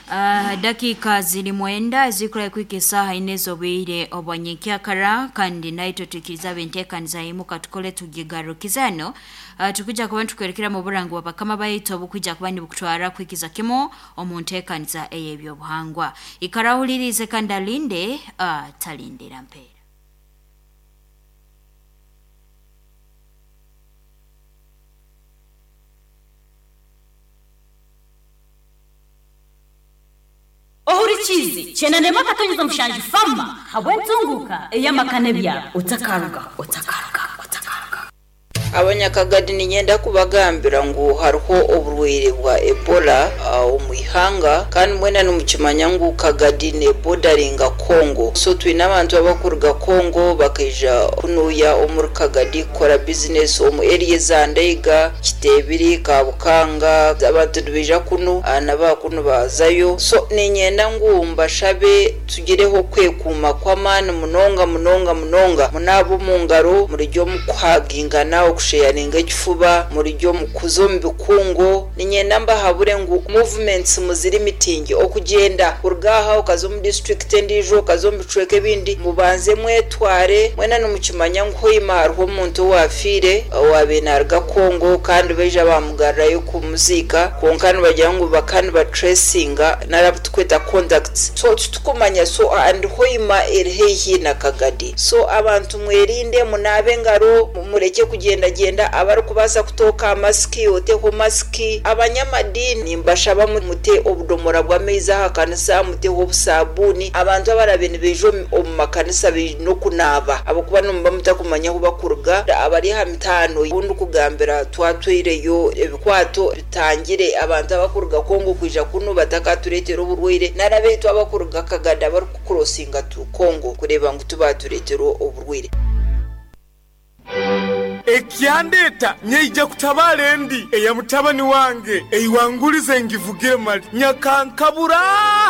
S2: Uh, dakika ziri mwenda zikura kwike saha inezo bwire obwanyenkya kara kandi naito tukiriza benteekaniza imuka tukole tugigarukizano. Uh, tukuja kuba tukwerekera mu burango wa bakama bayito obukuja kuba nibukutwara kwikiza kimo omunteekaniza ey'ebyobuhangwa. Ikarahulirize kandi alinde uh, talindira mpera.
S8: Ohurichizi chenanema katonyeza mshanji fama habwentunguka eyamakane bya utakaruga utakaruga utakaruga.
S9: Abanyakagadi ninyenda kubagambira ngu hariho oburwaire bwa Ebola omu ihanga kandi mwena nimukimanya ngu Kagadi ne bordaringa Congo, so twine abantu abakuruga Congo bakaija kunuya omuri Kagadi kukora business omu area za Ndeiga, Kitebiri, Kabukanga, abantu nibaija kunu naba kunu bazayo. So ninyenda ngu mbashabe tugireho kwekuuma kw'amaani munonga munonga munonga munabo mu ngaro murijyo mukuhagingana okusheyaringa ekifuba murijyo mukuzo mu bikungo. Ninyenda mbahabure ngu movements muziri mitingi okugenda kurugaha okaza omu district endijo okaza omu bicweka ebindi mubanze mwetware mwena nimukimanya ngu hoima hariho omuntu owafiire owabe naruga Congo kandi baija bamugarrayo kumuziika kwonka nibagira ngu bakani batracinga narabutukweta contacts, so tutukumanya so and hoima eri haihi na Kagadi. So abantu mwerinde munabe engaro mureke kugenda genda abarikubaasa kutoka masiki oteho masiki. Abanyamadini mbashaba mute obudomora bw'amaizi aha kanisa muteho obusabuni. Abantu abarabe nibaija omu makanisa baine okunaaba ahabwokuba nimuba mutakumanya ahu bakuruga. Abari aha mitaano obundi kugambira twatwireyo ebikwato bitangire abantu abakuruga Kongo kwija kunu batakatureetera oburwaire narabeitu abakuruga Kagadi abarikukurosinga tu Kongo kureeba ngu tubatureetera oburwaire.
S10: Ekyandeta nyeija kutabala endi eya mutabani wange eiwangulize ngivugire mali nyakankabura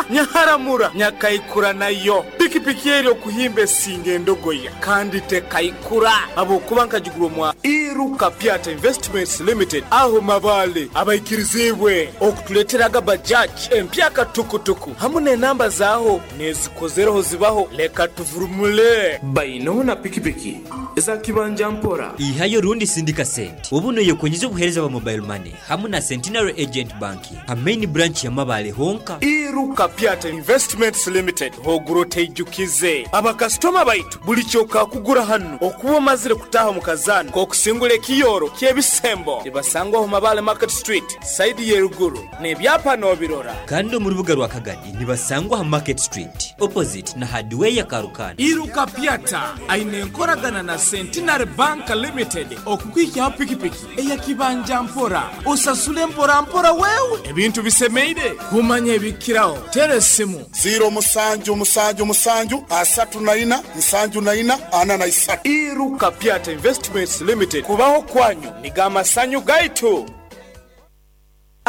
S10: nyaharamura nyakaikura nayo pikipiki eri okuhimba esinga endogoya kandi tekaikura abokuba nkagigura mwa Iruka Piata Investments Limited aho mabale abaikirizibwe okutuleteraga Bajaj empyaka tukutuku hamwe n'enamba zaho nezikozereho zibaho leka tuvurumule
S11: baino na pikipiki za kibanja mpora
S12: ihayo rundi sindika sente ubuno yekonyeza obuhereza bwa mobile money hamwe na Centenary Agent Banking ha main branch ya Mabale honka.
S10: Iruka Piata Investments Limited hoguroteijukize abakastoma baitu buli kyoka kugura hano okuba omazire kutaha mu kazana kokusingula ekiyoro kyebisembo ibasangwa ho Mabale Market Street side yeruguru nebyapa nobirora
S12: kandi mu rubuga rwa Kagadi nibasangwa ha Market Street opposite na hardware ya Karukana.
S10: Iruka Piata aine enkoragana na Centenary Bank Limited okukwikiaho pikipiki eyakibanja mpora osasule mpora mpora wewe ebintu bisemeire kumanya ebikiraho tere simu
S13: zero musanju musanju musanju asatu na ina nsanju na ina ana na isatu.
S10: Iruka Piata Investments Limited kubaho kwanyu nigamasanyu gaitu.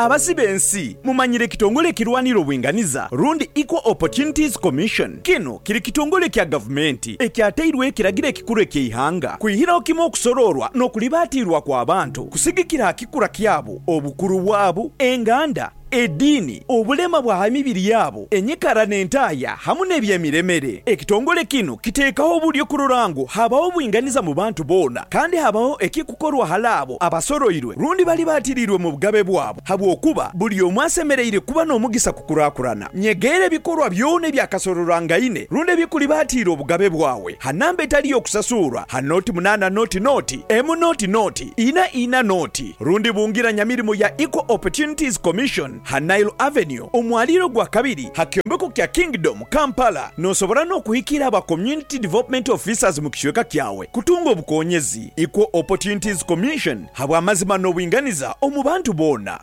S14: Abasibe ensi mumanyire kitongole kirwanira obwinganiza rundi Equal Opportunities Commission. Kino kiri kitongole kya gavumenti ekyateirwe ekiragiro ekikuru eky'eihanga kwihiraho kimwe okusororwa n'okulibatirwa kw'abantu kusigikira aha kikura kyabo, obukuru bwabo, enganda, Ediini, obulema bwa mibiri yabo, enyikara n'entaya hamu n'ebyemiremere. Ekitongole kino kiteekaho obulyo kurora ngu habaho obwinganiza mu bantu boona, kandi habaho ekikukorwa hali abo abasoroirwe rundi bali baatiriirwe mu bugabe bwabo, habwokuba buli omwe asemereire kuba n'omugisa kukurakurana. Nyegeera ebikorwa byona ebyakasororwangaine rundi ebikulibaatiire obugabe bwawe ha namba etali y'okusasurwa ha noti munaana noti noti emu noti noti ina ina noti rundi bungira nyamirimo ya Equal Opportunities Commission ha Nile Avenue omwaliro gwa kabiri ha kyombeko kya Kingdom Kampala. Nosobora n'okuhikira aba Community Development Officers mu kicweka kyawe kutunga obukonyezi. Equal Opportunities Commission habw'amazima n'obwinganiza omu bantu boona.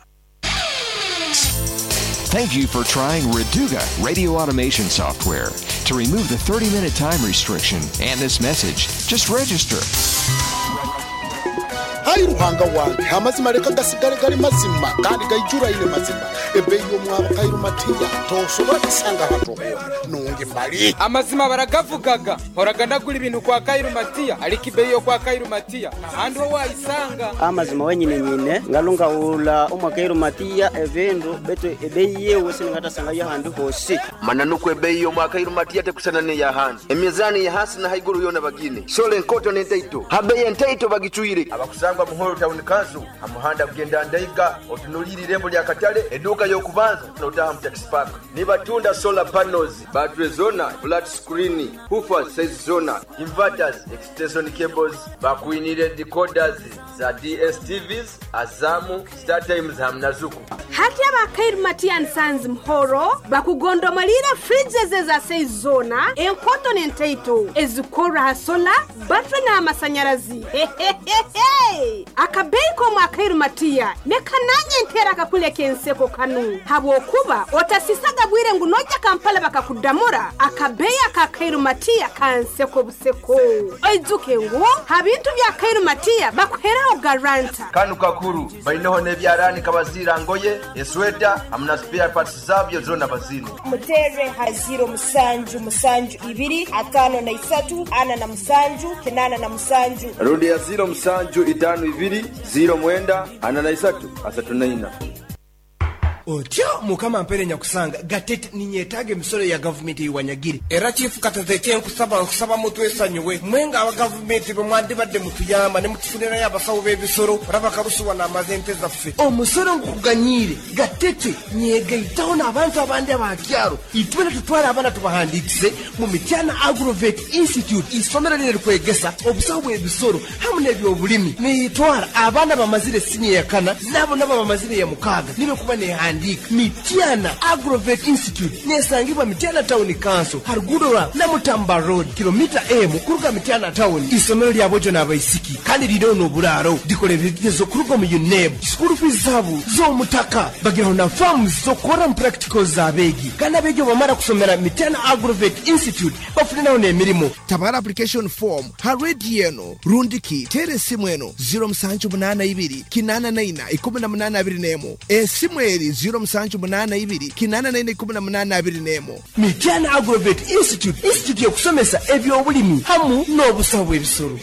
S15: Thank you for trying Reduga radio automation software. To remove the thirty minute time restriction and this message, just register.
S13: Hayi Ruhanga wange, amazima leka gasigale gali mazima kandi gaijuraine mazima. Ebeeyi y'omwabo Kairumatiya tosobora kusanga hatohona nungi mali.
S16: Amazima baragavugaga, horaga ndagura ibintu kwa Kairumatiya, ariko ibeyi yo kwa Kairumatiya ahandi ho wayisanga.
S17: Amazima wenyine nyine ngalungawula omwa Kairumatiya ebindu betu ebeyi yewe siningatasanga ahandi hosi.
S18: Mananukwo ebeyi y'omwa Kairumatiya tekusana n'eyahandi, emizani ya hasi na haiguru yona bagine sole enkoto n'entaito habeyi entaito bagicwire. Abakusangwa Muhoro Town Council amuhanda kugenda Ndaiga otunulire irembo lya Katale eduka y'okubanza notaha mu taxi park. Nibatunda solar panels, battery zona, flat screen, woofer size zona, inverters, extension cables, bakuinire decoders za D S T Vs, Azamu, Star Times hamna Zuku.
S19: Hati abakairumatiya nsanzi Muhoro bakugondomalira fridges za size zona, enkoto n'entaito ezikora ha solar, battery n'amasanyarazi. Akabeyi komu Akairumatiya nekananye ntera akakuleka enseko kanu, habwokuba otasisaga bwire ngu noja Kampala bakakudamura. Akabeyi akakairumatiya kanseko buseko. Oizuke ngu habintu bya Kairumatiya bakuheraho garanta.
S18: Kanu kakuru bainoho n'ebyarani kabazira ngoye esweta hamna spare parts zabyo zona bazino.
S20: Mutere ha ziro musanju musanju ibiri atano na isatu ana na musanju kinana na musanju.
S18: Rudi ya ziro musanju itano ibiri ziro mwenda ana na isatu asatu na ina.
S21: Otyo Mukama mpere nyakusanga gatete ninyetaga emisoro ya gavumenti iwanyagire. Era chifu Katete, nkusaba nkusaba mutwesanyuwe mwenga aba gavumenti bwe mutuyamba ne mutufunirayo abasawo b'ebisoro raba karusuwa n'amaze ente zaffe. Omusoro nkuganyire Gatete, nyegaitaho n'abantu abandi abakyaro itwena tutwara abaana tubahandikise mu Mityana Agrovet Institute, isomero riri kwegesa obusawo bw'ebisoro hamwe n'ebyobulimi. Niyitwara abaana bamazire siniya ya kana nabo nabo bamazire ya mukaaga nibe kuba nehandika. Mityana Agrovet Institute nesangibwa Mityana Town Council, harugudo rwa Namutamba Road, kilomita emu kuruga Mityana Town. Isomero lya bojo n'abaisiki kandi ririho n'oburaaro, rikora ebigezo kuruga mu UNEB. School fees zabo z'omutaka, bagiraho na forms z'okukora mu practicals z'abeegi, kandi abeegi bamara kusomera Mityana Agrovet Institute bafuniraho n'emirimo.
S22: Tabara application form ha rediyo eno rundiki tere esimu eno ziro musanju munaana ibiri kinaana naina ikumi na munaana abiri n'emu. Esimu eri ziro musanju munaana ibiri kinaana naina ikumi na munaana abiri n'emu.
S21: Mityana Agrovet Institute, institute y'okusomesa ebyobulimi hamu n'obusawo bw'ebisoro.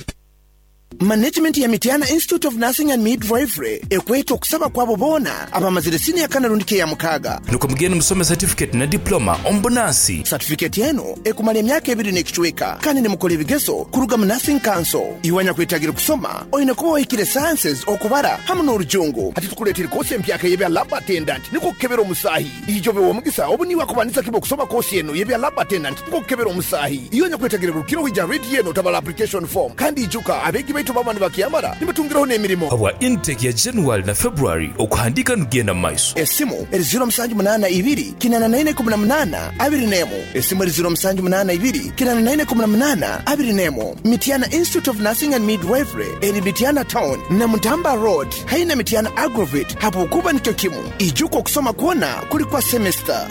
S22: Management ya Mityana Institute of Nursing and Midwifery ekweta okusaba kwabo boona abamazire siniya kana rundiki ya mukaaga.
S23: Nuko mugende musome certificate na diploma ombunansi.
S22: Certificate eno ekumala emyaka ebiri n'ekicweka kandi nimukola ebigezo kuruga mu Nursing Council. Iwanya kwetagira kusoma oyine kuba wahikire sciences, okubara hamu n'orujungu. Hati tukuleetera kosi empyaka y'ebya lab attendant niko kukebera omusaahi. Ijobe w'omugisa obu niwe akubanisa kiba okusoma kosi eno y'ebya lab attendant niko kukebera omusaahi. Iwanya kwetagira rukiro hija rediyo eno tabala application form, kandi ijuka abeegi baitu baba nibakiyamara nibatungiraho n'emirimo.
S23: Habwa intake ya January na February okuhandika nugenda mu maiso.
S22: Esimu eri ziro musanju munaana ibiri kinaana naine ikumi na munaana abiri n'emu. Esimu eri ziro musanju munaana ibiri kinaana naine ikumi na munaana abiri n'emu. Mityana Institute of Nursing and Midwifery eri Mityana Town na Mutamba Road haina Mityana Agrovet, hapokuba nikyo kimu. Ijuka okusoma kwona kuli kwa semester.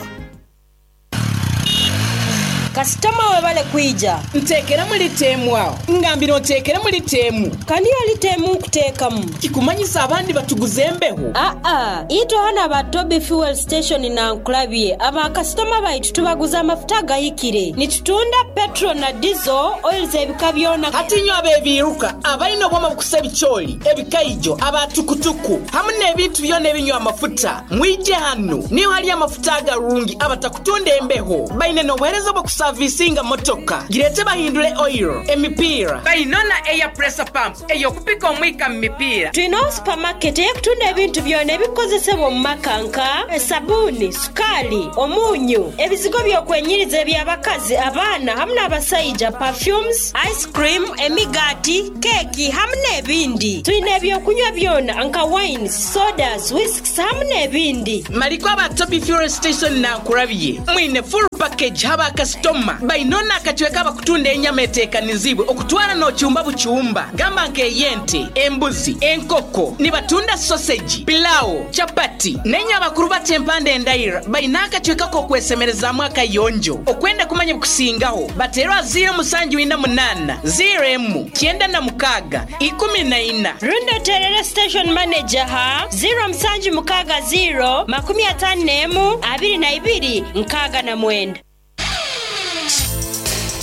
S20: Kasitoma webale kwija.
S1: Nteekeramu liteemu awo. Ngambira onteekeremu liteemu.
S20: Kandi yo liteemu nkuteekamu.
S1: Kikumanyisa abandi batuguza embeho.
S20: Aa, itwe hano aba Toby Fuel Station na nkulabye aba kasitoma baitu tubaguza amafuta agahikire. Nitutunda petrol na diesel oils ebika byona.
S1: Hati nyo abebiruka abalina obwoma bukusa ebikyoli, ebikaijo, abatukutuku hamu n'ebintu byona ebinywa amafuta. Mwije hano niyo hali amafuta agarungi abatakutunda embeho. Baine n'obuheereza bw'okusavisinga motoka. Girete bahindule oil, emipiira. Bainona air pressure pump ey'okupika omwika mu mipiira.
S20: Twina supermarket ey'okutunda ebintu byona ebikozesebwa omu maka nka esabuni, sukali, omunyu, ebizigo by'okwenyiriza eby'abakazi, abaana hamu n'abasaija, perfumes, ice cream, emigaati, keeki hamu n'ebindi. Twina ebyokunywa byona nka wines, sodas, whisks hamu n'ebindi.
S1: Maliko aba Toby Fuel Station nankurabye. Mwine full package haba kasitoma. Bainona akachweka abakutunda enyama eteekanizibwe okutwara n'okyumba bukyumba. Gamba nk'eyente, embuzi, enkoko, nibatunda sausage, pilau, chapati, n'enya abakuru bakyempanda endaira. Baina akachweka k'okwesemerezaamu akayonjo. Okwenda kumanya bukusingaho, baterwa ziro musanju ina munana, ziro emu, kyenda na mukaga, ikumi na ina.
S20: Rundo terere station manager ha ziro musanju mukaga ziro, makumi atano n'emu, abiri na ibiri, nkaga na mwenda.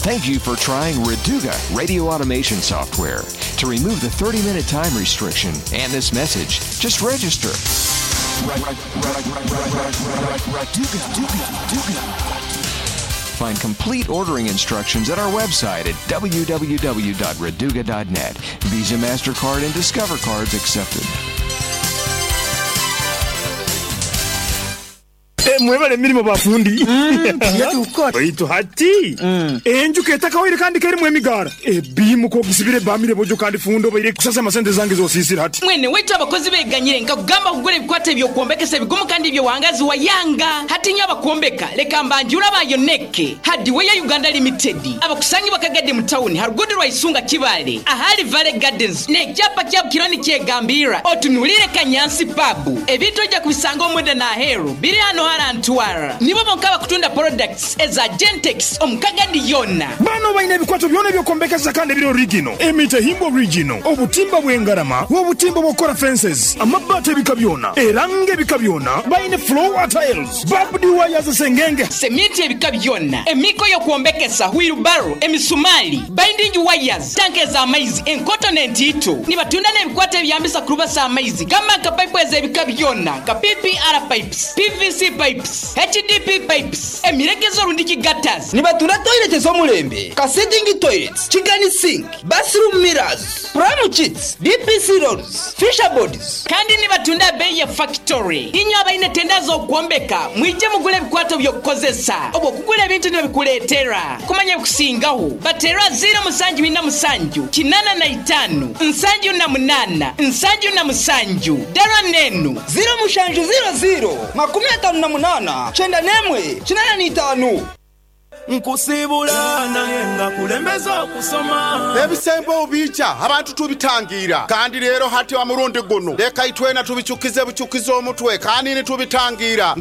S15: Thank you for trying Reduga radio automation software. To remove the thirty-minute time restriction and this message, just register. Find complete ordering instructions at our website at w w w dot reduga dot net. Visa, MasterCard, and Discover cards accepted.
S5: Mwebale emirimu bafundi. Baitu hati enjuka etakawaire kandi kerimu emigara ebimu kogisibire bamire bojo kandi fundo baire kusasa amasente zange zosisira hati.
S1: Mwene wetu abakozi beganyire nkakugamba kugura ebikwate by'okwombekesa ebigumu kandi ebyowangazi wa yanga. Hati nyo abakuombeka leka mbanjura bayoneke Hardware Uganda Limited abakusangi bakagade mu town harugudu rwa Isunga Kibale ahali Valley Gardens n'ekyapa kya Kironi kyegambira otunulire Kanyansi pub ebintu ojja kubisanga omwenda na aheru biri hano harantwara nibo bonka bakutunda products eza Gentex omukagadi yona.
S5: Bano baine ebikwato byona ebyokombekesa kandi ebiri original emite himbo original obutimba bw'engarama obutimba bw'okora fences amabati ebika byona erange ebika byona baine floor tiles barbed wires sengenge
S1: semiti ebika byona emiko y'okwombekesa wheelbarrow emisumali binding wires tanke za amaizi enkoto n'entiito nibatunda n'ebikwato ebyambisa kurubasa amaizi gamba nka pipe ez'ebika byona nka P P R pipes, P V C pipes, H D P pipes, emirekezo rundiki gutters.
S6: Nibatunda toilet ez'omulembe, ka sitting toilets, chicken sink, bathroom mirrors, pram sheets, D P C rolls, fisher boards.
S1: Kandi nibatunda bei ya factory. Inyo abaine tenda z'okwombeka, mwije mugule ebikwato by'okukozesa. Obwo kugula ebintu nibikuleetera. Kumanya kusingaho. Batera zero musanju ina musanju, kinana na itano, nsanju na munana, nsanju na musanju. Dara nenu.
S6: Zero mushanju zero zero, makumi atano na munana, chenda nemwe, chinana ni itano.
S11: Nkusibula naye nga kulembeza okusoma.
S13: Ebisembo obicha abantu tubitangira kandi rero hati wa murundi guno leka itwena tubichukize buchukize omutwe kandi ni tubitangira.